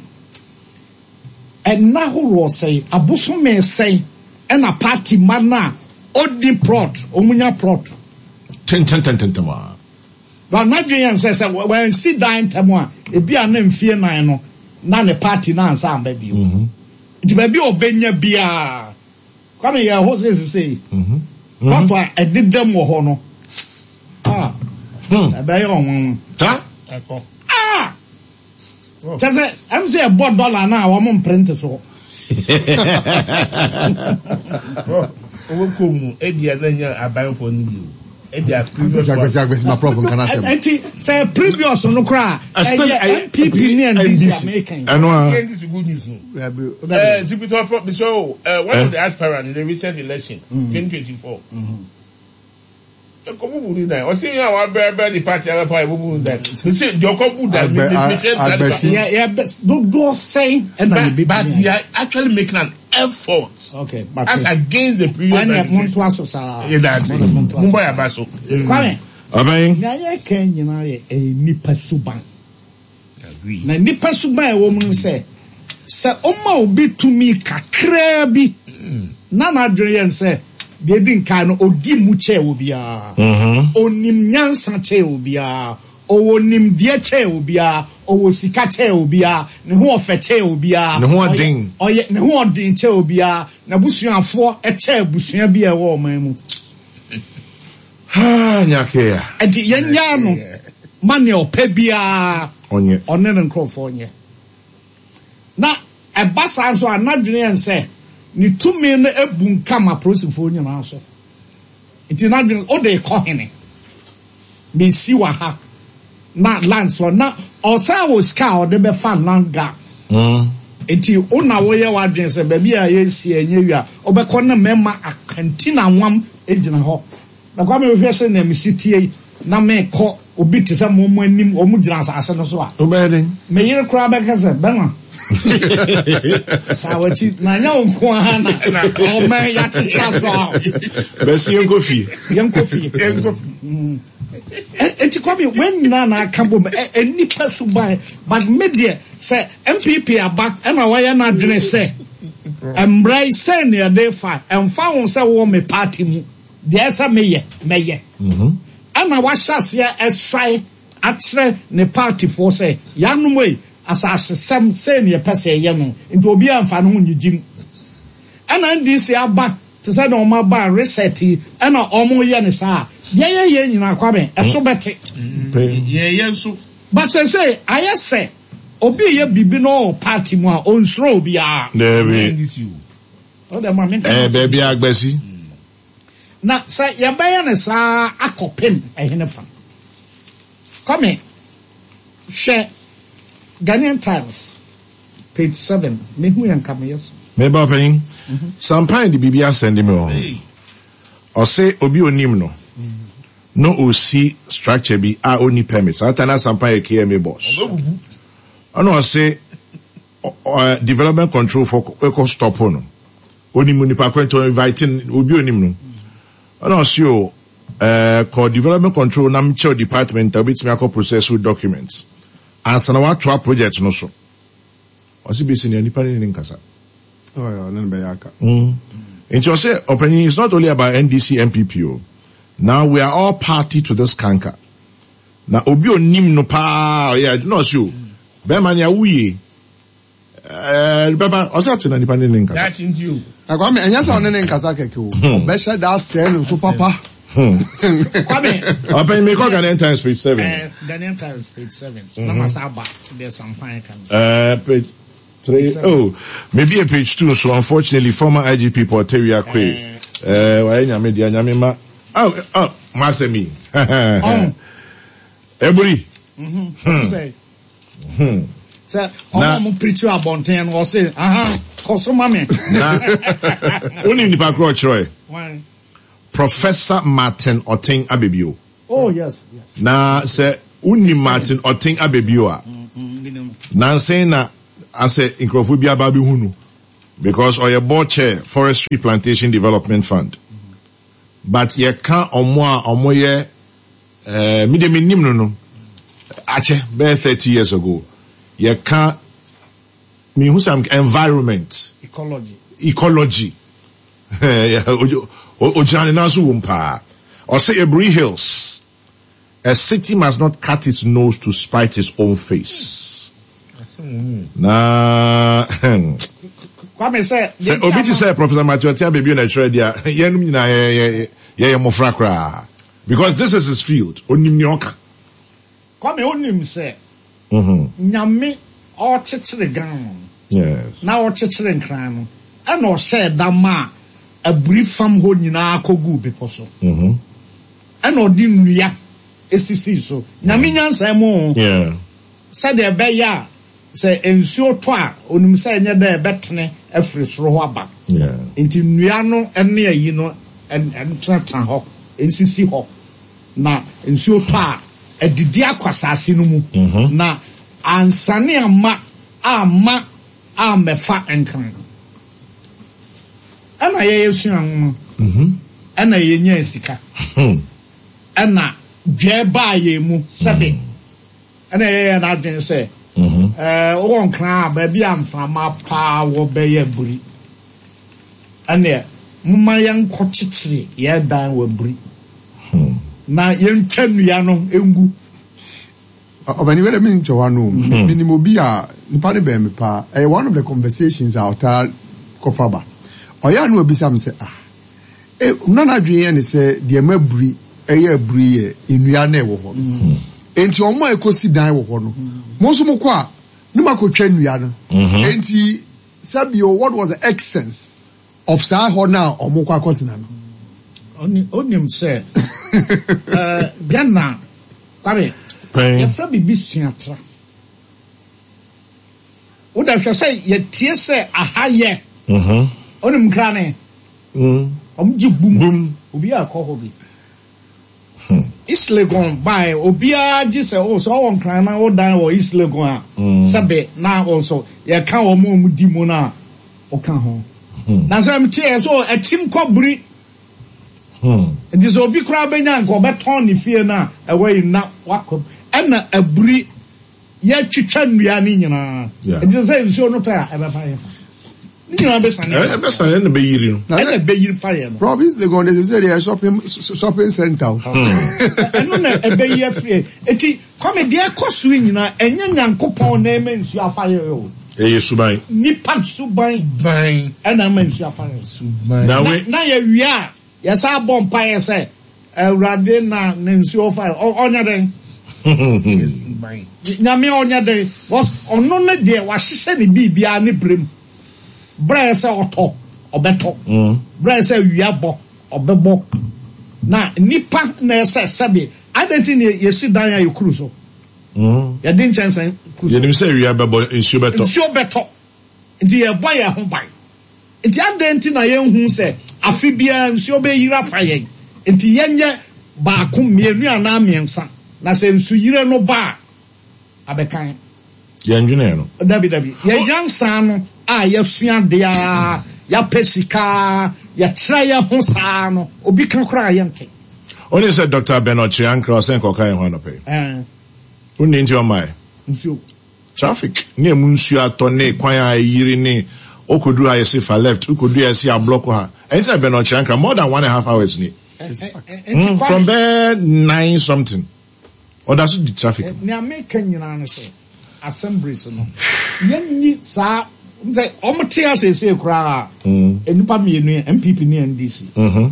Nna horoɔ sɛn, abosome sɛn ɛna party mma no a ɔnni plot, wɔn nya plot.
Tentɛntɛntɛntɛm a.
Ba n'adwene yɛ no sɛ sɛ wansi dan ntɛm a, ebi a na mfie nan no na ne party no ansa amba bio. Nti baabi a ɔbɛnya biara, Kwame yɛ hɔ sɛ sesei, plot a ɛdedam wɔ hɔ no, ah, ɛbɛyɛ ɔnwanwa.
Ɛkɔ.
Ah! Kyɛ sɛ ɛm sɛ ɛbɔ dɔla no a wɔn mprente soɔ.
Owó kò mu ebi a na nya abanfo no bi o ebi a previous
one. Agbesi agbesi ma prof nka n'asɛm.
Eti sɛ previous no koraa ɛyɛ NPP ne NDC American.
Ɛno a.
NDC good news no. Ɛɛ Zipitɔ prof bisɛ o one of the aspirants in the recent election 2024. Ɛkɔbubu ne dan. Ɔsi yɛn a wabɛbɛ ne party abɛpa ɛbubu ne dan. Mese deɛ ɔkɔbu dan mi mi hwɛ
sa sa.
Yɛ yɛ dodoɔ sɛn ɛna yɛ bɛ
But we are actually making an effort.
Okay,
but as against the previous.
Ɛnna mo nto aso saa.
Yɛ da ase. Mo bɔ yɛ aba so.
Kwame.
Ɔbɛn.
Nea yɛ kɛn nyinaa yɛ ɛyɛ nipa suban. Na nnipa suban a ɛwɔ mu ne sɛ, sɛ ɔma obi tumi kakraa bi na n'adwene yɛ no sɛ deɛ edi nkan no odi mu kyɛn obiara, onim nyansa kyɛn obiara, ɔwɔ nimdeɛ kyɛn obiara, ɔwɔ sika kyɛn obiara, ne ho ɔfɛ kyɛn obiara,
Ne ho ɔden.
ɔyɛ ne ho ɔden kyɛn obiara, n'abusuafoɔ kyɛn abusua bi a ɛwɔ ɔman mu.
Haa Nyakea.
Enti yɛnnyaa no ma nea ɔpɛ biara
Ɔnyɛ.
ɔne ne nkurɔfoɔ nyɛ. Na ɛba saa nso a, n'adwene yɛ no sɛ ne tumi no abunkam apolisifoɔ nyinaa so. Nti n'adwene, wode rekɔ hene? Mesi wɔ ha na land so na ɔsan wɔ sika a ɔde bɛfa land guard. Nti wo na woyɛ w'adwene sɛ baabi a yɛresi ɛnyɛ wie a, wobɛkɔ ne mmarima akantinanwam gyina hɔ. Na Kwame wohwɛ sɛ nea mesi tie yi na mekɔ obi te sɛ mo mo anim wɔn gyina asase no so a.
Wobɛyɛ den.
Me yere koraa bɛka sɛ bɛma. Saa w'akyi na nyɛ wo nko ara na ɔman yɛakyekyere aso a.
Bɛsi yɛnkɔ fie.
Yɛnkɔ fie.
Yɛnkɔ fie.
Eti Kwame wɔn nyinaa na aka bom nnipa suban but me deɛ sɛ NPP aba ɛna wɔyɛ n'adwene sɛ mmara yi sɛn na yɛde fa ɛmfa ho sɛ wowɔ me party mu deɛ ɛsɛ meyɛ mɛyɛ ɛna wahyɛ aseɛ ɛsae akyerɛ ne partyfoɔ sɛ yanom ei asasesɛm sɛn na yɛpɛ sɛ yɛyɛ no nti obiara mfa ne ho nnyegye mu ɛna NDC aba Te sɛ nea wɔn aba reset yi ɛna wɔn yɛ no saa a, deɛ yɛ yɛ nyinaa Kwame ɛso bɛte.
Yɛ yɛ nso.
But sɛsɛi ayɛ sɛ obi yɛ biribi na ɔwɔ party mu a ɔnsuro obiara.
Daabi.
Wo deɛ ma me nka
Ɛɛ
m'asɛm.
baabi a agbasi.
Na sɛ yɛbɛyɛ no saa akɔpem ɛhene fa. Kwame hwɛ Ghanaian Times. Page 7, Mehu yɛ nka meyɛ so.
Me ba ɔpanyin, Sampan de biribi asɛnde me wɔ ho. Ɔse obi onim no na osi structure bi a onni permit. Saa time na Sampan yɛ KMA boss. Ɛna ɔse development control fo kɔ stop no. Onim nipa ko nti invite obi onim no. Ɛna ɔse o kɔ development control na mekyerɛw department a obetumi akɔ process wo documents. Ansa na watoa project no so. Ɔse besi nea nipa no ne no nkasa.
Ɔne no bɛyɛ aka.
Nti ɔse ɔpanyin it's not only about NDC NPP o. Now we are all party to this canker. Na obi onim no paa ɔyɛ na ɔse o bɛrima nea woyie Ɛɛ bɛba ɔsɛ ate na nipa ne ne nkasa.
Daakye nti o.
Na Kwame ɛnyɛ sɛ ɔne ne nkasa kɛkɛ o. Ɔbɛhyɛ da asɛe no nso papa.
Kwame.
Ɔpɛn mi kɔ Ghanaian Times page 7.
Ghanaian Times page 7. Na ma sa aba deɛ sampan ka no.
Page 3. Oh, maybe a page 2 so unfortunately former IGP Paul Tawia Kwe. Wayɛ nyame deɛ nyame ma. Oh, oh, ma asɛm yi. Eburi.
Hmm. Sɛ ɔmo a ɔmo pirikyi abɔnten no ɔse aha kɔ so ma me.
Na wonim nipa korɔ ɔkyerɛɛ? Professor Martin Oteng Abebio.
Oh yes, yes.
Na sɛ wonim Martin Oteng Abebio a, nansa yi na asɛ nkurɔfoɔ bi aba abɛhu no because ɔyɛ board chair Forestry Plantation Development Fund. But yɛka ɔmo a ɔmo yɛ eh, me deɛ menim no no akyɛ bɛyɛ 30 years ago. Yɛka mehu sɛ environment,
Ecology.
Ecology. Ogyina ne nan so wom paa. Ɔse Aburi Hills, a city must not cut its nose to spite its own face. Na
Kwame sɛ
sɛ obi te sɛ Professor Matthew Ɔtea Bebio na ɛtwerɛ deɛ a, yɛnom nyinaa yɛyɛ mmɔfra koraa. Because this is his field. Onim nea ɔka.
Kwame wonim sɛ Nyame ɔɔkyekyere Ghana no na ɔɔkyekyere Nkran no ɛna ɔhyɛɛ da maa aburi fam hɔ nyinaa kɔguu bepɔ so ɛna ɔde nnua sisii so. Nyame nyansa mu oo sɛdeɛ ɛbɛyɛ a sɛ nsuo tɔ a ɔnim sɛ ɛnyɛ dɛ ɛbɛtene afiri soro hɔ aba nti nnua no ne ayi no ntenatena hɔ nsisi hɔ. Na nsuo tɔ a, adidi akɔ asase no mu, na ansane amma amma ammɛfa nkran. Ɛna yɛyɛ sua nwoma, ɛna yɛnyaa sika, ɛna dwɛɛ baa yɛn mu sɛbe, ɛna yɛyɛ yɛn adwene sɛ, ɛɛ wowɔ nkran a, baabi a mframa paa wɔ bɛyɛ aburi. Ɛnneɛ, momma yɛnkɔkyekyere yɛn dan wɔ aburi, na yɛntwa nnua no ngu.
Ɔbɛni wɛrɛ mi ntwa wa no. Minim obi a nipa no bɛn me paa. Ɛyɛ one of the conversations a ɔtaa kɔfa ba. Ɔyɛ a na wabisa me sɛ ah, eh, na n'adwene yɛ ne sɛ deɛ ɛma aburi ɛyɛ aburi yɛ nnua na ɛwɔ hɔ no. Enti wɔn a ɛkɔsi dan wɔ hɔ no, mo nso mokɔ a, ne moakɔtwa nnua no. Enti Sɛ bio, what was the essence of saa hɔ no a wɔn kɔ akɔtena no?
Onim sɛ Ghana, Kwame, yɛfrɛ biribi suatra. Wo da hwɛ sɛ yɛtie sɛ aha yɛ. Onim nkra ne? Wɔn gye bum. Obi a kɔ hɔ bi. East Legon bae, obiara gye sɛ oh sɛ ɔwɔ Nkran na wodan wɔ East Legon a, sɛbe na wo nso yɛka wɔn a wɔdi mu no a woka ho. Na sɛ meteɛ so akyim kɔ buri. Nti sɛ obi koraa bɛnya nka ɔbɛtɔn ne fie no a ɛwɔ yi na wakɔ mu. Ɛna aburi yɛatwitwa nnua no nyinaa. Nti sɛ nsuo no tɔ a ɛbɛfa yɛn fa. Ne nyinaa bɛsane aba.
Ɛbɛsane ɛna bɛyiri no.
Ɛna ɛbɛyiri fa yɛn no.
Province Legon de sɛ deɛ shopping shopping center o.
Ɛno na ɛbɛyi afiri eti Kwame deɛ ɛkɔ so yi nyinaa ɛnyɛ Nyankopɔn na ɛma nsuo afa yɛn o.
Ɛyɛ suban.
Nipa suban.
Ban.
Ɛna ɛma nsuo afa yɛn.
Suban.
Na we.
Na yɛwie a yɛsan bɔ mpaeɛ sɛ Awurade na ne nsuo fa yɛn. Ɔnyɛ dɛn? Nyame ɔnyɛ dɛn? Because ɔno ne deɛ wahyehyɛ ne biribiara ne berɛ mu. Berɛ a ɛsɛ ɔtɔ, ɔbɛtɔ. Berɛ a ɛsɛ awia bɔ, ɔbɛbɔ. Na nipa na ɛsɛ sɛbe, adɛn nti na yɛsi dan a yɛkuru so? Yɛde nkyɛnsee kuru so.
Yɛnim sɛ awia bɛbɔ, nsuo bɛtɔ.
Nsuo bɛtɔ. Nti yɛbɔ yɛn ho ban. Enti adɛn nti na yɛnhu sɛ afe biara nsuo bɛyiri afa yɛn? Enti yɛnyɛ baako, mmienu anaa mmiɛnsa, na sɛ nsuyire no ba a, abɛka yɛn.
Yɛndwenee no.
Dabi, dabi. Yɛn nyansa no a yɛasua adeɛ ara, yɛapɛ sika ara, yɛkyerɛ yɛn ho saa ara no, obi ka koraa a yɛnte.
Wonim sɛ Dɔkta Ben Ɔkyere Ankrah ɔsɛ nka ɔka yɛn ho anɔpa yi?
Ɛɛ.
Wonni nti ɔmmaeɛ?
Nsuo.
Traffic ne ɛmu nsuo atɔ ne kwan a ayiri ne wokɔduru ha yɛse fa left wokɔduru ha yɛse ablɔko ha ɛnti na bɛn ɔkyerɛ ankra more than one and half hours ni from bɛɛ nine something ɔda so di traffic mu.
Nea meka nyinaa ne sɛ assemblies no yɛnni saa sɛ wɔn te aseesei koraa nnipa mmienu yi NPP ne NDC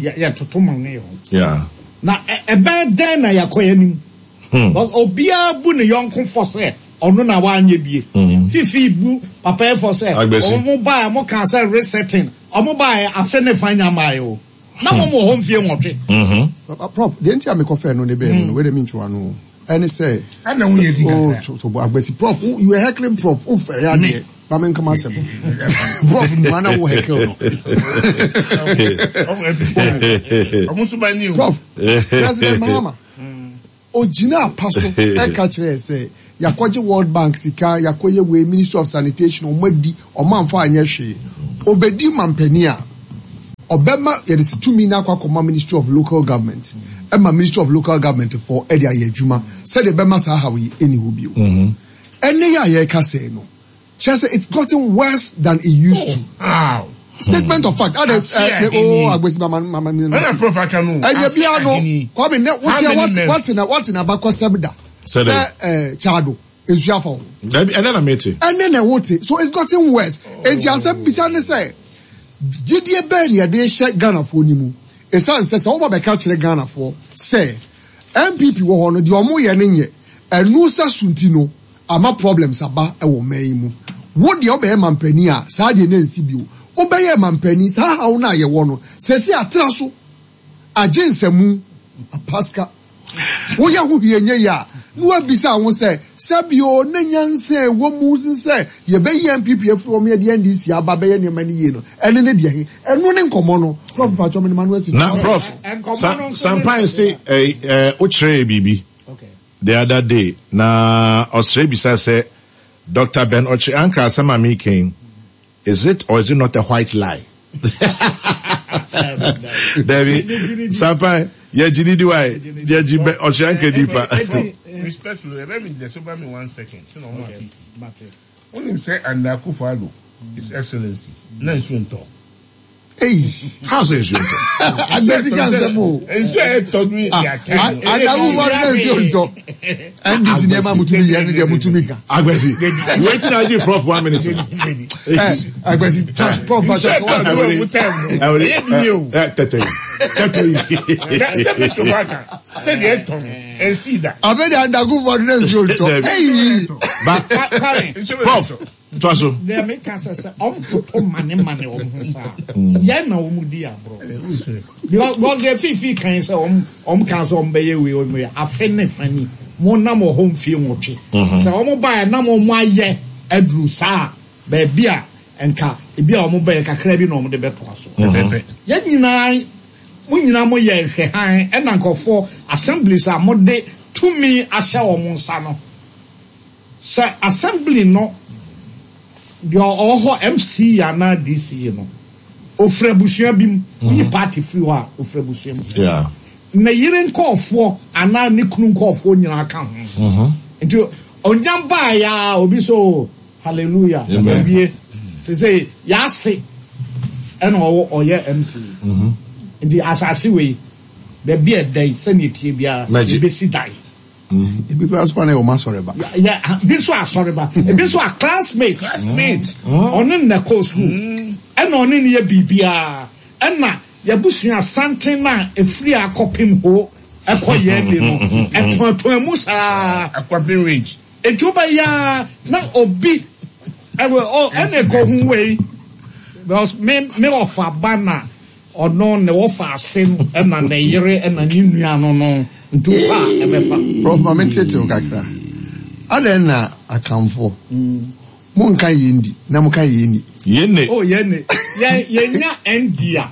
yɛtoto ma ne ho na ɛbɛyɛ dɛn na yɛakɔ yɛn anim. Because obiara bu ne yɔnko fɔ sɛ ɔno na wanyɛ bie. Fifi bu papa yi fɔ sɛ wɔn baeɛ wɔn kaa sɛ resetting wɔn baeɛ afe ne fa nya mmaeɛ o. Na wɔn wɔ hɔ mfie nwɔtwe.
Prof, deɛ nti a mekɔfɛɛ no de bɛɛ mu no, wei deɛ mentwe w'ano o, ɛne sɛ.
Ɛna wo yɛ di kakra.
Oh, so, so, Agbasi, Prof, you were heckling Prof, wo fɛre adeɛ. Ma me nka m'asɛm. Prof mua na wo heckle no. Prof, President Mahama, ogyina apa so ɛka kyerɛ sɛ yɛakɔgye World Bank sika, yɛakɔyɛ wei, Ministry of Sanitation, ɔmo adi, ɔmo amfa anyɛ hwee. Obedi mampanin a, ɔbɛma yɛde tumi no akɔ akɔma Ministry of Local Government, ɛma Ministry of Local Government foɔ ɛde ayɛ adwuma sɛdeɛ ɛbɛma saa haw yi ɛnni hɔ bio. Ɛnnɛ yi a yɛreka sɛɛ no, kyerɛ sɛ it's gotten worse than it used to.
Oh,
Statement of fact. Ade eh, oh, agbesi mama mama mi.
Ɛna prof aka no.
Ɛnyɛ bia no. Kwame ne wote what what na what na abakɔsɛm da. Sɛ eh chado nsu afa ho.
Dabi ɛnɛ na mete.
Ɛnɛ na wote. So it's gotten worse. Enti asɛm bisa ne sɛ gyidie bɛn na yɛde hyɛ Ghanafoɔ ni mu. Ɛsiane sɛ sɛ woba bɛka kyerɛ Ghanafoɔ sɛ NPP wɔ hɔ no deɛ ɔmo yɛ no nyɛ. Ɛno sɛ so nti no ama problems aba wɔ ɔman yi mu. Wo deɛ wobɛyɛ mampanin a, saa deɛ na ɛnsi bio. Wobɛyɛɛ mampanin, saa haw no a yɛwɔ no, seesei atra so, agye nsamu, apaska. Woyɛ ho hwee nyɛ yie a, na woabisa wo ho sɛ, sɛbi o, na nyansa a ɛwɔ mu sɛ yɛbɛyi NPP afiri hɔ ma yɛde NDC aba abɛyɛ nneɛma no yie no, ɛno ne deɛ he? Ɛno ne nkɔmmɔ no. Prof mpakyɛw mede m'ano asi so.
Na Prof, Sampan se wokyerɛɛ biribi. The other day na ɔsrɛ bisa sɛ Doctor Ben Ɔkye Ankrah asɛm a meka yi is it or is it not a white lie? Dabi, Sampan, yɛgye ne di wae, yɛgye Ben Ɔkye Ankrah di pa.
Respectfully, ɛbɛ mi dɛ so ba mi one second, sɛ na ɔmo afi. Wonim sɛ Under Akufo-Addo, His Excellency, na nsuo ntɔ.
Hey.
How sɛ nsuo ntɔ?
Agbesi ka nsɛm o.
Nsuo a ɛtɔ no yɛ ata.
Adamu wɔ ne nsuo ntɔ. NDC nneɛma mutumi yɛ ne deɛ mutumi ka.
Agbesi, wetin na agye prof one minute.
Ɛ Agbesi, prof ba sɛ
kɔwa sɛ wɔn mu tɛm no. Ɛyɛ bi yɛ o.
Ɛ tɛtɛ yi, tɛtɛ yi.
Sɛ mi tó ba kan, sɛ deɛ ɛtɔ no, ɛnsi da.
Afei de Adamu wɔ ne nsuo ntɔ.
Ba prof. Toa so.
Deɛ meka sɛ sɛ ɔmtoto mane mane wɔn ho saa yɛn na wɔn di aborɔ because deɛ fifi kan sɛ wɔn wɔn kan sɛ wɔn bɛyɛ wei wɔn yɛ afe ne fa ni mo nam wɔ hɔ mfie nwɔtwe sɛ wɔn ba yɛ nam wɔn ayɛ aduru saa baabi a nka ebi a wɔn bɛyɛ kakra bi na wɔn de bɛtoa so yɛn nyinaa mo nyinaa mo yɛ nhwɛhan ɛna nkurɔfoɔ assemblies a mo de tumi ahyɛ wɔn nsa no. Sɛ assembly no deɛ ɔwɔ hɔ MC anaa DC no, ɔfiri abusua bi mu, woyi party firi hɔ a, ɔfiri abusua mu. Ne yere nkɔɔfoɔ anaa ne kunu nkɔɔfoɔ nyinaa ka ho. Nti ɔnya baeɛ a, obi sɛ o, hallelujah, awie. Sesei yɛase ɛna ɔwɔ ɔyɛ MC. Nti asase wei, baabi a ɛda yi, sɛdeɛ ɛteɛ biara, yɛbɛsi dan.
Ebi koraa nso na yɛ wɔn asɔre ba.
Yɛ bi nso asɔre ba. Ebi nso a classmate.
Classmate.
Ɔne na kɔ school. Ɛna ɔne ne yɛ biribiara. Ɛna yɛabusua santen no a efiri akɔpem ho ɛkɔ yɛn de no ɛtoatoa mu saa.
Akɔpem range.
Eti wobɛyɛ a na obi ɛwɔ ɔ ɛna ɛkɔ hu wei because me me ɔfa ba na. Ɔno ne wɔfa ase no ɛna ne yere ɛna ne nua no no nti wokɔ a ɛbɛfa.
Prof ma me ntetew kakra. Adɛn na Akanfoɔ mo nka yɛn di na mo ka yɛn ni?
Yɛn ne.
Oh yɛn ne. Yɛn yɛn nya ND a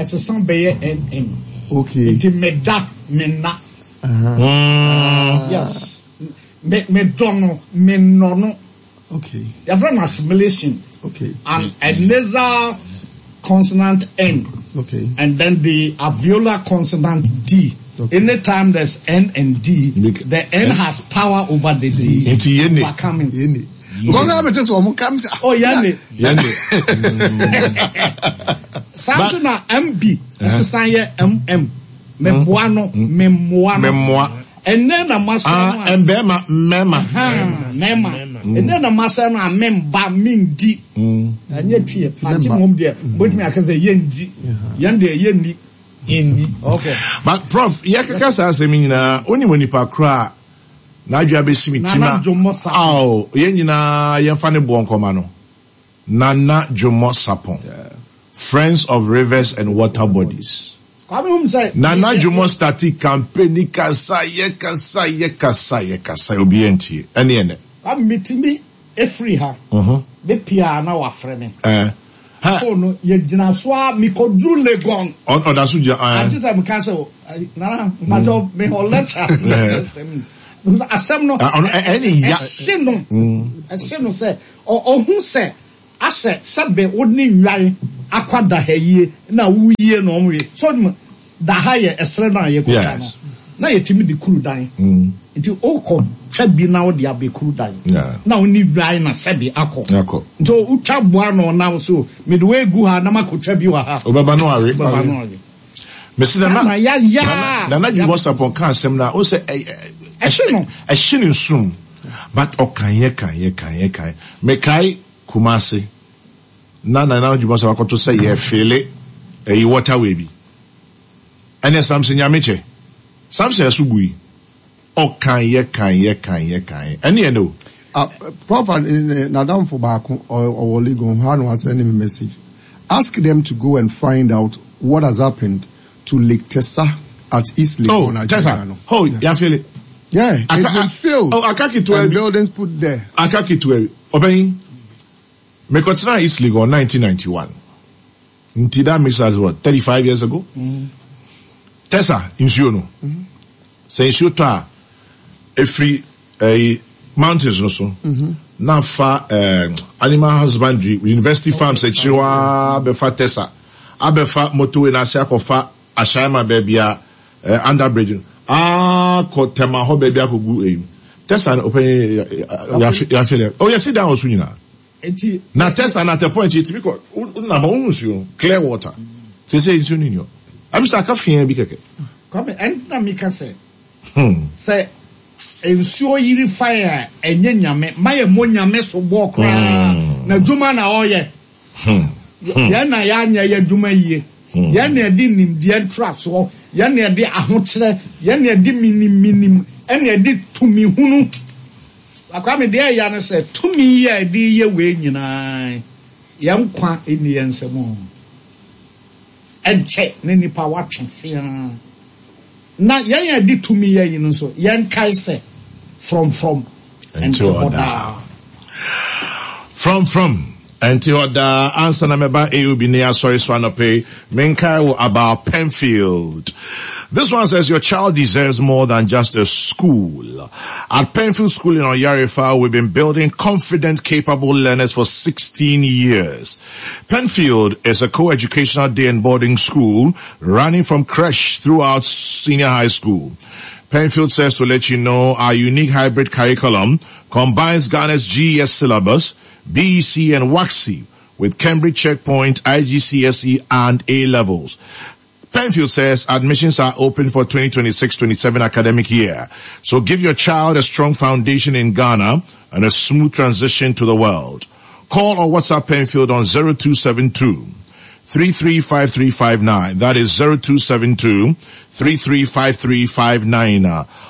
ɛsesa bɛyɛ NN.
Okay.
Nti me da me nna. Yes. Me me dɔ no me nnɔ no.
Okay.
Yɛfrɛ no assimilation.
Okay.
And a nasal consonant N.
Okay.
And then the alveolar consonant D.
Okay.
Anytime there's N and D, the N has power over the D.
Nti yɛn ne.
Overcoming.
Yɛn ne. Because na bɛte sɛ wɔn kam sɛ.
Oh, yɛn ne.
Yɛn ne.
Saa nso na MB ɛsesan yɛ MM. Meboa no, memmoa no.
Memmoa.
Ɛnnɛ na masɛe no a.
Ah, mbɛɛma, mmɛɛma.
Ahaa, mɛɛma. Ɛnnɛ na masɛe no a memba, mendi. Ɛnyɛ twi ɛ, Fante mmom deɛ, wobɛtumi aka sɛ yɛndi. Yɛn deɛ yɛnni.
Yɛnni.
Okay.
But prof, yɛkeka saa asɛm yi nyinaa, wonim onipa korɔ a n'adwene abɛsi me tirim a,
Nana Dwommɔ Sarpong.
Ao, yɛn nyinaa yɛmfa ne boɔ nkɔma no. Nana Dwommɔ Sarpong, Friends of Rivers and Water Bodies.
Kwame hum sɛ.
Nana Dwommɔ starti campaign ni kasa yɛ kasa yɛ kasa yɛ kasa obiara ntie ɛne ɛnɛ.
Kwame metumi. Ɛfiri ha bɛpie a na wafrɛ me. Phone no yɛgyina so ara mekɔduru Legon.
Ɔda so gyina.
Agye sɛ meka sɛ Nana mpakyɛw mewɔ lecture next 10 minutes. Asɛm no ɛhye no ɛhye no sɛ ɔhu sɛ asɛ sɛbe wo ne nnwan akɔ da ha yie na wo yie na wɔn wie so da ha yɛ ɛserɛ no a yɛkɔtwa no na yɛtumi de kuru dan nti wokɔ twa bi na wode abɛ kuru dan na wo ne nnwan na sɛbe akɔ nti wotwa boa no na wo so mede wei gu ha na makɔtwa bi wɔ ha
wobɛba no awe
wobɛba no awe.
Mese nana nana Dwuma Sarpong ka asɛm no a, wohu sɛ
ɛhye no
ɛhye ne nsono but ɔkaeɛ kaeɛ kaeɛ kaeɛ. Mekae Kumasi na Nana Dwuma Sarpong akɔto sɛ yɛfeele ɛyi waterway bi ɛnɛ Samson Nyamekyɛ Samson ɛso bui ɔkaeɛ kaeɛ kaeɛ kaeɛ ɛne ɛnɛ o.
Ah, Prof, n'adamfo baako ɔwɔ Legon hɔ a na wasɛnde me message. Ask them to go and find out what has happened to Lake Tessa at East Legon,
Oh, Tessa.
Nigeria.
Oh, yeah. Yafele.
Yeah, it's
Aka,
been filled.
Oh, aka ketewa
And
bi.
buildings put there.
Aka ketewa bi. Ɔbɛn, mekɔtena East Legon 1991. Nti that makes us what, 35 years ago? Mm. Tessa, nsuo no. Mm. Sɛ nsuo tɔ a, ɛfiri ɛyi mountains no so na afa ɛɛ animal husbandry university farms akyiri hɔ ara bɛfa Tessa abɛfa motorway no ase akɔfa Ashaiman baabi a ɛɛ under bridge no akɔ Tema hɔ baabi akɔgu ɛyi Tessa no ɔpɛn yɛahwɛ dɛ oh yɛsi dan wɔ so nyinaa na Tessa na at a point yɛtumi kɔ wonam hɔ wohu nsuo no clear water sɛ nsuo no nni hɔ ɛmi sɛ aka fia bi kɛkɛ.
Kwame ɛnna meka sɛ Sɛ nsuo yiri fa yɛn a, ɛnyɛ Nyame. Ma yɛ mmɔ Nyame soboɔ koraa. N'adwuma na ɔyɛ. Yɛn na yɛanyɛ yɛn adwuma yie. Yɛn na yɛde nimdeɛ ntrasoɔ, yɛn na yɛde ahokyerɛ, yɛn na yɛde menim menim, ɛna yɛde tumi hunu. Kwame, deɛ ɛya ne sɛ, tumi yi a yɛde reyɛ wei nyinaa, yɛn nkwa nni yɛn nsam o. Ɛnkyɛ na nnipa watwe feaa. Na yɛn a yɛde tumi yɛ yi no nso, yɛnkae sɛ, frɔmfrɔm nte hɔ daa.
Frɔmfrɔm nte hɔ daa. Ansa na mɛba AOB ne asɔre so anɔpa yi, menkae wo about Penfield. This one says your child deserves more than just a school. At Penfield School in Oyarifa, we've been building confident, capable learners for 16 years. Penfield is a co-educational day and boarding school running from creche throughout senior high school. Penfield says to let you know our unique hybrid curriculum combines Ghana's GES syllabus, BEC and WASSCE with Cambridge Checkpoint, IGCSE and A levels. Penfield says admissions are open for 2026-27 academic year. So give your child a strong foundation in Ghana and a smooth transition to the world. Call or WhatsApp Penfield on 0272 335359. That is 0272 335359.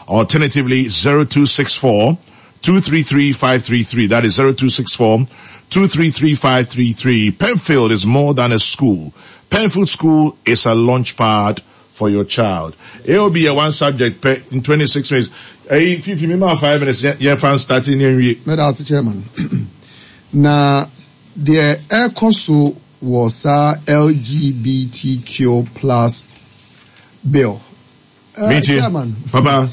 Alternatively, 0264 233533. That is 0264 233533. Penfield is more than a school. Penfield School is a launch pad for your child. It will be a one subject per in 26 minutes. Hey, if you remember 5 minutes, yeah, fan starting in.
Meda ase chairman. Na deɛ ɛrekɔ so wɔ saa LGBTQ plus bill.
Eh, chairman. Papa.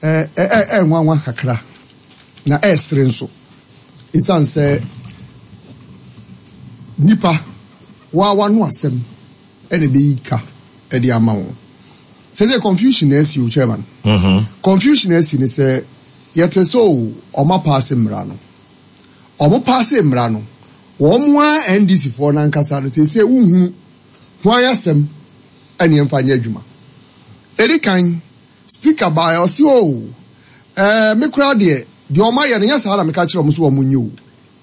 Eh, eh, eh, eh, nwanwa kakra. Na ɛresere nso. Esiane sɛ nipa waa wano asɛm ɛna ɛbɛyi ka ɛde ama wɔn. Sɛ sɛ confusion na asi o chairman. Confusion na asi ne sɛ yɛte sɛ o ɔma paase mmara no. Ɔmo paase mmara no, wɔn a NDC foɔ no ankasa no sɛ wohunu hwan asɛm ɛne ɛmfa nyɛ adwuma. Edi kan, speaker baeɛ ɔse o ɛɛ me koraa deɛ deɛ ɔmo ayɛ no nyɛ saa na meka kyerɛ ɔmo so ɔmo nyɛ o.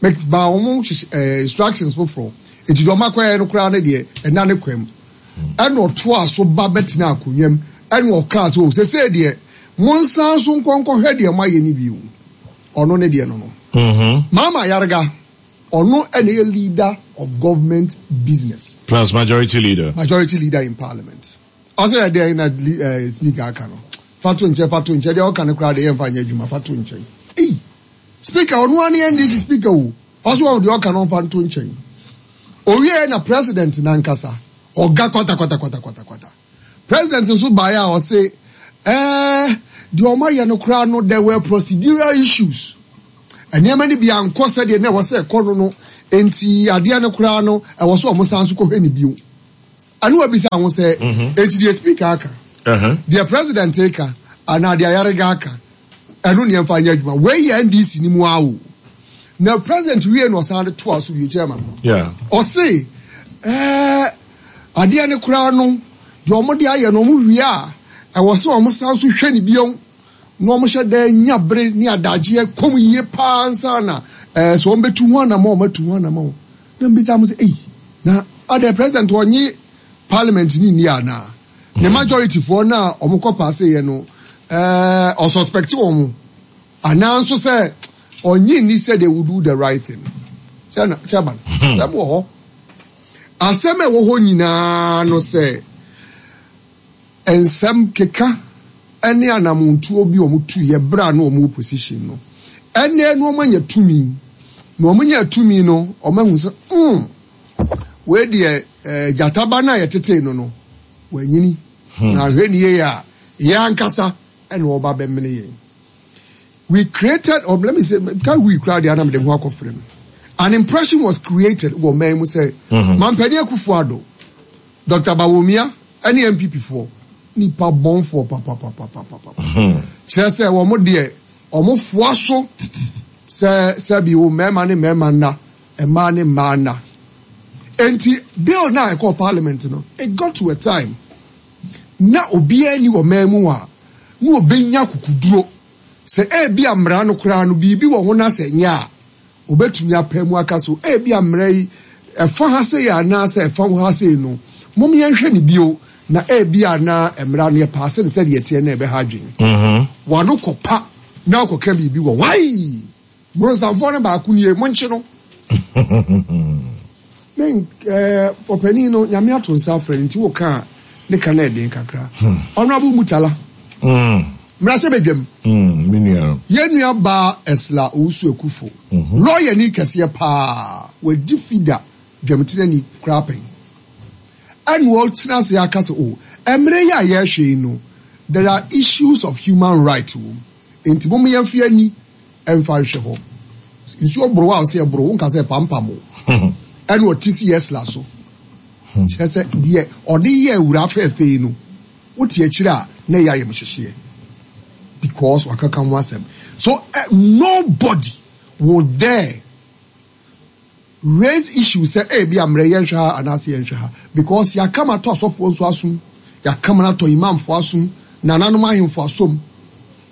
Me maa ɔmo hyehyɛ ɛɛ instructions foforɔ. Eti deɛ ɔmo akɔyɛ no koraa no deɛ ɛna ne kwan mu. Ɛna ɔtoa so ba bɛtena akonnwa mu ɛna ɔkaa sɛ o sesei deɛ monsan so nkɔ nkɔhwɛ deɛ moayɛ no bio. Ɔno ne deɛ no no. Mahama Ayariga, ɔno ɛna ɛyɛ leader of government business.
Plus majority leader.
Majority leader in parliament. Ɔsɛ ɛdeɛ na speaker aka no. Fa to nkyɛn, fa to nkyɛn. Deɛ ɔka no koraa deɛ yɛmfa nyɛ adwuma, fa to nkyɛn. Ei! Speaker, ɔno ara ne NDC speaker o, ɔso wɔn deɛ ɔka no ɔmfa nto nkyɛn. Owieɛ na president nankasa, ɔga kwatakwatakwatakwatakwata. President nso baeɛ a ɔse ɛɛ deɛ wɔn ayɛ no koraa no there were procedural issues. Nneɛma no bi ankɔ sɛdeɛ na ɛwɔ sɛ ɛkɔ no no, enti adeɛ no koraa no ɛwɔ sɛ wɔn san so kɔhwɛ no bio. Ɛna wabisa ho sɛ, enti deɛ speaker aka, deɛ president reka, anaa deɛ Ayariga aka, ɛno ne yɛmfa nyɛ adwuma. Wei yɛ NDC no mu ara o. Na president wie na ɔsan de toa so bio, chairman. Ɔse, ɛɛ, adeɛ no koraa no, deɛ wɔn de ayɛ no, wɔn wie a, ɛwɔ sɛ wɔn san so hwɛ no bio, na wɔn hyɛ da nya bere ne adagyeɛ kɔm yie paa ansa na ɛɛ sɛ wɔn bɛtu ho anamɔ, wɔn atu ho anamɔ. Na mbisa mo sɛ, ei, na adɛn president ɔnye parliament ni nni anaa? Ne majority foɔ no a wɔn kɔ paase yɛ no, ɛɛ, ɔsuspect wɔn anaa nso sɛ ɔnye nni sɛ they will do the right thing? Chairman, asɛm wɔ hɔ. Asɛm a ɛwɔ hɔ nyinaa no sɛ Nsɛm keka ne anamontuo bi a wɔn tuiɛ berɛ a na wɔn wɔ position no, ɛnnɛ no wɔn anya tumi, na wɔn nyaa tumi no wɔn ahu sɛ mm, wei deɛ eh, gyata ba no a yɛtetee no no, wanyini, na ahwɛ ne yie a, yɛn ankasa ɛna ɔba bɛmene yɛn. We created, or let me say, ka we koraa deɛ anam de ho akɔfrɛ no. An impression was created wɔ man mu sɛ, Mampanin Akufo-Addo, Doctor Bawumia ne NPP foɔ nipa bɔnfoɔ papapapapapa. Kyerɛ sɛ wɔn deɛ wɔn foa so sɛ sɛbi wo mmarima ne mmarima nna, mmaa ne mmaa nna. Enti bill no a ɛkɔɔ parliament no, it got to a time na obiara nni wɔ man mu a na ɔbɛnya kukuduro sɛ ebia mmara no koraa no biribi wɔ ho na sɛ nyɛ a Obetumi apae mu aka sɛ, Ebia mmara yi, ɛfa ha sei anaasɛ ɛfa ho ha sei no, mom yɛnhwɛ no bio, na ebia na mmara no yɛpaase no sɛdeɛ ɛteɛ no a ɛbɛha adwene. W'ano kɔpa na wokɔka biribi wɔ ho. Ai! Bronsamfoɔ no baako nie, monkye no. Me eh, ɔpanin no, Nyame ato nsa afrɛ no nti woka a, ne ka no ɛden kakra. Honourable Murtala, mmra sɛ bɛdwam.
Me nua no.
Yɛn nua baa Esla Owusu Akufo, lɔyani kɛseɛ paa, wadi FIDA dwamtenani koraa pɛn. Ɛna ɔtena ase aka sɛ, oh, mmerɛ yi a yɛrehwɛ yi no, there are issues of human right wɔ mu, enti mom yɛmfa yɛn ani Ɛmfa nhwɛ hɔ. Nsuo boro a ɔsɛ ɛboro, wonka sɛ ɛpampam o. Ɛna ɔte si Esla so. Kyerɛ sɛ deɛ ɔde yɛ awuraa fɛɛfɛ yi no, wote akyire a na ɛyɛ ayamhyehyeɛ. Because wakaka ho asɛm. So eh, nobody will dare raise issue sɛ ebia mmerɛ yɛnhwɛ ha anaasɛ yɛnhwɛ ha because yɛaka ma atɔ asɔfoɔ nso asom, yɛaka ma no atɔ imamfoɔ asom, nananom ahemfo asom.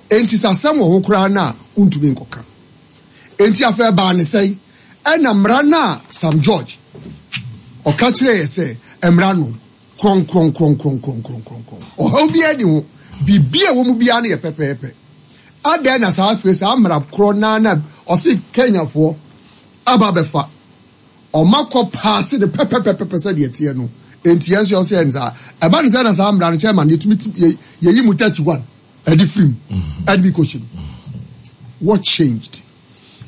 Enti sɛ asɛm wɔ ho koraa no a, wontumi nkɔka. Enti afei ɛbaa ne sɛn? Ɛna mmara no a Sam George ɔka kyerɛɛ yɛ sɛ mmara no krɔnkrɔnkrɔnkrɔnkrɔnkrɔnkrɔn, ɔhaw biara nni ho, biribi a ɛwɔ mu biara no yɛ pɛpɛɛpɛ. Adɛn na saa afei saa mmara korɔ no ara na ɔse Kenyafoɔ aba abɛfa ɔma kɔ paase no pɛpɛpɛpɛ sɛdeɛ ɛteɛ no, enti yɛn nso yɛwɔ sɛ yɛn saa. Ɛba no sɛ na saa mmara no chairman yɛtumi ti yɛ yɛyi mu 31 ɛde firi mu ɛde bi kɔhyɛ mu. What changed?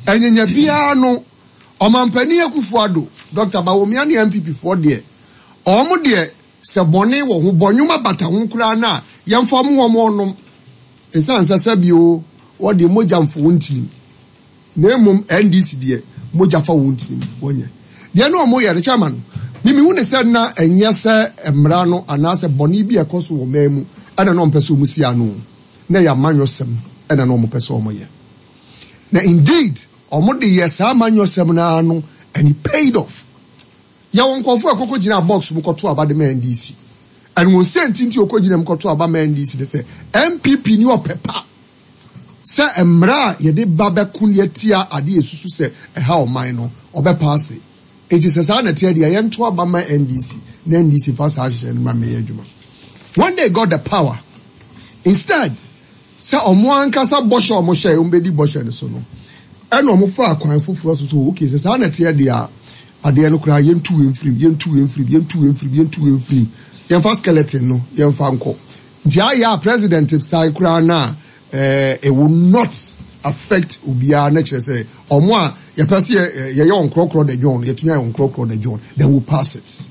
Ɛnyanya biara no Ɔmampanin Akufo Addo, Dr. Bawumia ne NPP foɔ deɛ wɔn deɛ sɛ bɔne wɔ ho bɔnwoma bata ho koraa no a yɛmfa wɔn wɔn ɔnom. Ɛsiane sɛ sɛbi o wɔn deɛ mogya mfo wɔn tirim. Na mmom NDC deɛ mogya fa wɔn tirim, wɔnyɛ. Deɛ na wɔyɛ no, Chairman, me mehu no sɛ na ɛnyɛ sɛ mmara no anaasɛ bɔne bi a ɛkɔ so wɔ man mu ɛna na wɔmpɛ sɛ wɔsi ano, na ɛyɛ amanyɔsɛm ɛna na wɔpɛ sɛ wɔyɛ. Na indeed, wɔde yɛ saa amanyɔsɛm no ara no and it paid off. Yɛwɔ nkurɔfoɔ a ɛkɔkɔ gyinaa box mu kɔto aba de ma NDC. And wɔn sɛ nti nti wɔkɔgyina mu kɔto aba ma NDC ne sɛ NPP ni ɔpɛ pa. Sɛ mmara a yɛde ba bɛko de atia ade a esusu sɛ ɛha ɔman no, ɔbɛpaase. Enti sɛ saa na ɛteɛ deɛ a, yɛnto aba mma NDC na NDC mfa saa nhyehyɛe no mmra mmɛyɛ adwuma. When they got the power, instead sɛ wɔn ankasa bɔhyɛ a wɔhyɛe wɔbɛdi bɔhyɛ no so no, ɛna wɔfaa kwan foforɔ so sɛ, okay, sɛ saa na ɛteɛ deɛ a, adeɛ no koraa yɛntu wei mfiri mu, yɛntu wei mfiri mu, yɛntu wei mfiri mu, yɛntu wei mfiri mu, yɛmfa skeleton no yɛmfa nkɔ. Nti ayɛ a president san koraa no a, eh, it will not. affect obiara na kyerɛ sɛ ɔmo a yɛpɛ sɛ yɛ yɛyɛ wɔn korɔkorɔ na dwon no yɛtumi ayɛ wɔn korɔkorɔ na dwon then we pass it.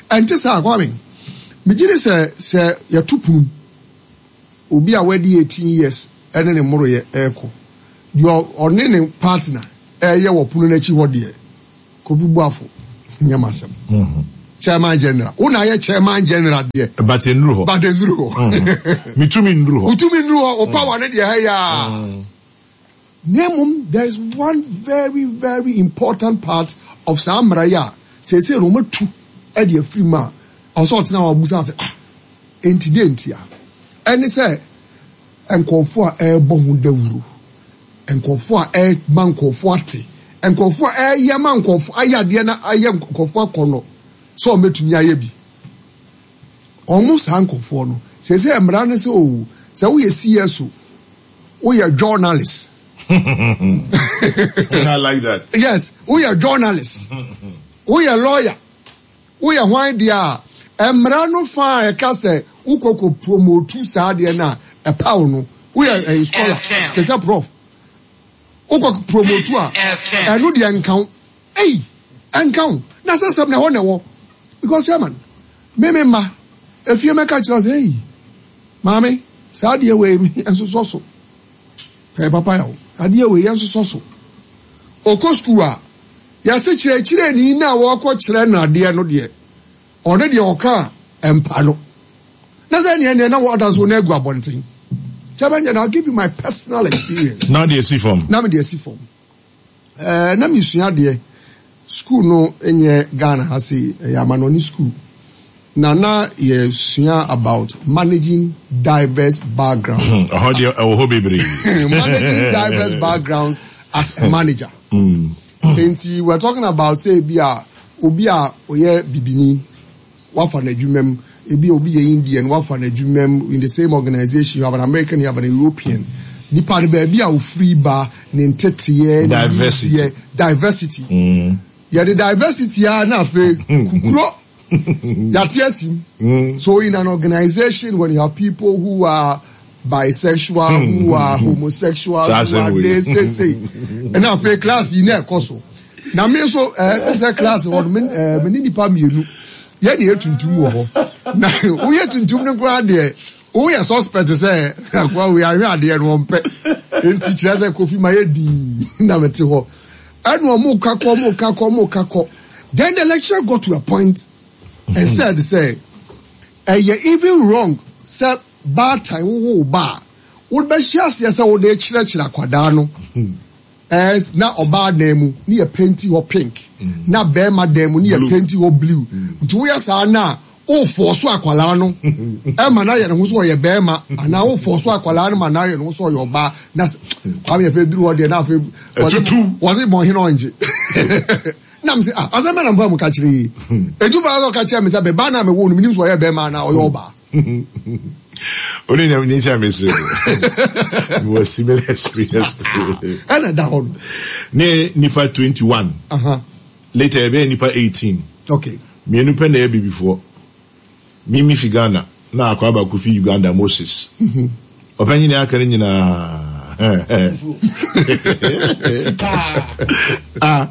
Ɛnte saa Kwame? Megye di sɛ sɛ yɛto pono mu obi a wadi 18 years ɛne ne mmoroyɛ ɛrekɔ deɛ ɔne ne partner ɛreyɛ wɔ pono no akyi hɔ deɛ Kofi Boafo nyɛ m'asɛm. Chairman General. Wo na ayɛ Chairman General deɛ.
But nnuru hɔ.
But nnuru hɔ.
Metumi nnuru hɔ.
Wotumi nnuru hɔ. Wo power no deɛ ha yi a. Na mmom there is one very very important part of saa mmara yi a seesei no wɔatu de afiri mu a ɔsɛ ɔtena hɔ a ɔbusa sɛ ah enti deɛ ntia? Ɛne sɛ nkurɔfoɔ a ɛrebɔ ho dawuro Nkurɔfoɔ a ɛrema nkurɔfoɔ ate, nkurɔfoɔ a ɛreyɛ ma nkurɔfoɔ ayɛ adeɛ na ayɛ nkurɔfoɔ akɔnnɔ sɛ wɔbɛtumi ayɛ bi. Wɔn saa nkurɔfoɔ no, seesei mmara no sɛ o, sɛ woyɛ CSO, woyɛ journalist.
I like that.
Yes, woyɛ journalist, woyɛ lawyer. Woyɛ hwan deɛ a, mmara no fa a ɛka sɛ wokɔ kɔ promotu saa adeɛ no a, ɛpaw no. Woyɛ ɛyi scholar, te sɛ prof. Wokɔ promotu a, ɛno deɛ nka wo. Ei, ɛnka wo. Na sɛ sɛm na ɛhɔ na ɛwɔ. Because chairman, me me mma, efie mɛka kyerɛ sɛ, ei, maame, saa adeɛ wei ɛnsosɔ so. Ɛyɛ papa yɛ o. Adeɛ wei yɛnsosɔ so. Ɔkɔ sukuu a, Yɛse kyerɛkyerɛni no a wɔrekɔkyerɛ no adeɛ no deɛ, ɔno deɛ ɔka a, ɛmpa no. Na sɛ ɛneɛ neɛ na wɔda nso na agu abɔnten. Chairman General, I'll give you my personal experience.
Na deɛ si fam.
Na me deɛ si fam. Ɛɛ na mesua adeɛ. School no nyɛ Ghana ha sei, ɛyɛ amanɔne school. Na na yɛsua about managing diverse backgrounds.
Ɛhɔ deɛ ɛwɔ hɔ bebree.
Managing diverse backgrounds as a manager. Nti we're talking about sɛ ebi a obi a ɔyɛ bibini wafa n'adwuma mu, ebi a obi yɛ Indian wafa n'adwuma mu in the same organization, you have an American, you have an European. Nipa no baabi a ofiri ba, ne nteteɛ, ne
Diversity.
Diversity. Yɛde diversity a na afei kukuro yɛate asim. So in an organization when you have people who are bisexual, who are homosexual, who are this, say, say. Ɛna afei class yi na ɛkɔ so. Na me nso ɛɛ sɛ class hɔ no me ɛɛ me ne nipa mmienu yɛ ne yɛ tuntum wɔ hɔ. Na woyɛ tuntum no koraa deɛ woyɛ suspect sɛ akoa wei ahwɛ adeɛ no ɔmpɛ. Nti kyerɛ sɛ Kofi ma yɛ dii na mete hɔ. Ɛna ɔmo ka kɔ ɔmo ka kɔ ɔmo ka kɔ. Then the lecturer got to a point and said sɛ ɛyɛ even wrong sɛ baatan wowo wo ba a wobɛhyɛ aseɛ sɛ wode kyerɛkyerɛ akwadaa no ɛɛ na ɔbaa dan mu ne yɛ penti hɔ pink na bɛrima dan mu ne yɛ penti hɔ blue nti woyɛ saa na wofɔɔ so akwadaa no ɛma no ayɛ ne ho sɛ ɔyɛ bɛrima anaa wofɔɔ so akwadaa no ma no ayɛ ne ho sɛ ɔyɛ ɔbaa na kwame yɛ fɛ duru hɔ deɛ na afei wɔse bɔnhene ɔngye na mese ah asɛm bɛ na mpa mu ka kyerɛ yi edu baa sɛ ɔka kyerɛ me sɛ bɛba na mewɔ no menim sɛ ɔyɛ bɛrima anaa ɔyɛ ɔbaa.
Only na ni sɛ mesere mewɔ similar experience.
Ɛna da hɔ no.
Ne nipa 21. Later ɛbɛyɛ nipa 18.
Okay.
Mmienu pɛ na ɛyɛ bibifoɔ. Me me fi Ghana na akwaa baako fi Uganda Moses. Ɔpanyin a aka no nyinaa. Ah,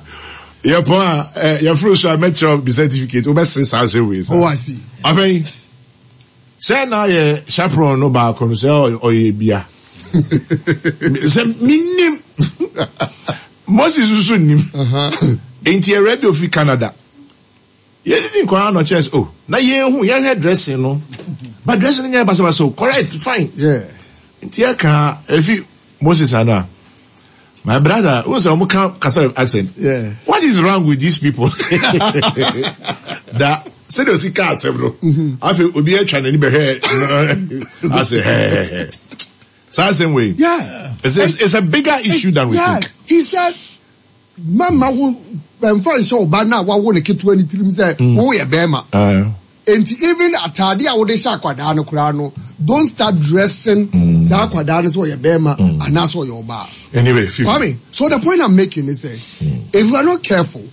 yɛpɔn a eh, yɛforo so a mɛkyerɛ bi certificate wobɛsere saa asɛm wei
saa. Oh, I see.
Ɔpanyin, sɛ na yɛ chaperon no baako no sɛ ɔyɛ bia. Sɛ menim. Moses nso nnim. Enti ɛwura bi ofi Canada. Yɛdidi nkɔ ara na ɔkyerɛ sɛ oh na yɛnhu yɛhwɛ dressing no but dressing no nyɛ basabasa o correct fine.
Yeah.
Nti ɛka efi Moses ana my brother who sɛ wɔn ka kasa accent.
Yeah.
What is wrong with these people? Da sɛdeɛ osi ka asɛm no afei obi atwa n'ani bɛhwɛ asɛ hɛhɛhɛ saa asɛm wei.
Yeah.
It's a bigger issue than we think.
He said Mɛmma wo mfa nhyɛ wo ba no a wawo no ketewa no tirim sɛ mm. woyɛ bɛrima. Nti even ataade a wode hyɛ akwadaa no koraa no, don't start dressing mm. saa akwadaa no sɛ ɔyɛ bɛrima mm. anaasɛ ɔyɛ ɔbaa.
Anyway,
Kwame, so the point I'm making is sɛ, if we are not careful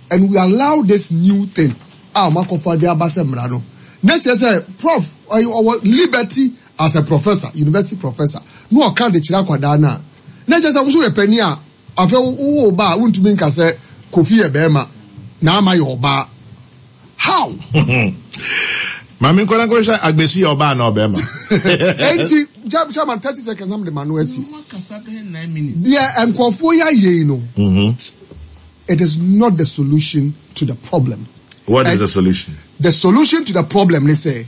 and we allow this new thing a wɔn akɔfa de aba sɛ mmara no, na kyerɛ sɛ prof ɔwɔ liberty as a professor, university professor, na ɔka de kyerɛ akwadaa no a. Na kyerɛ sɛ wo nso yɛ panin a, afei wowo wo ba a, wontumi nka sɛ Kofi yɛ barima na Ama yɛ ɔbaa. How?
Maame nkɔ na nkɔhwɛ Agbesi yɛ ɔbaa anaa ɔbarima.
Enti, Chairman, 30 seconds na mede m'ano asi. Deɛ nkurɔfoɔ yi ayɛ yi no, it is not the solution to the problem.
What is the solution?
The solution to the problem ne sɛ,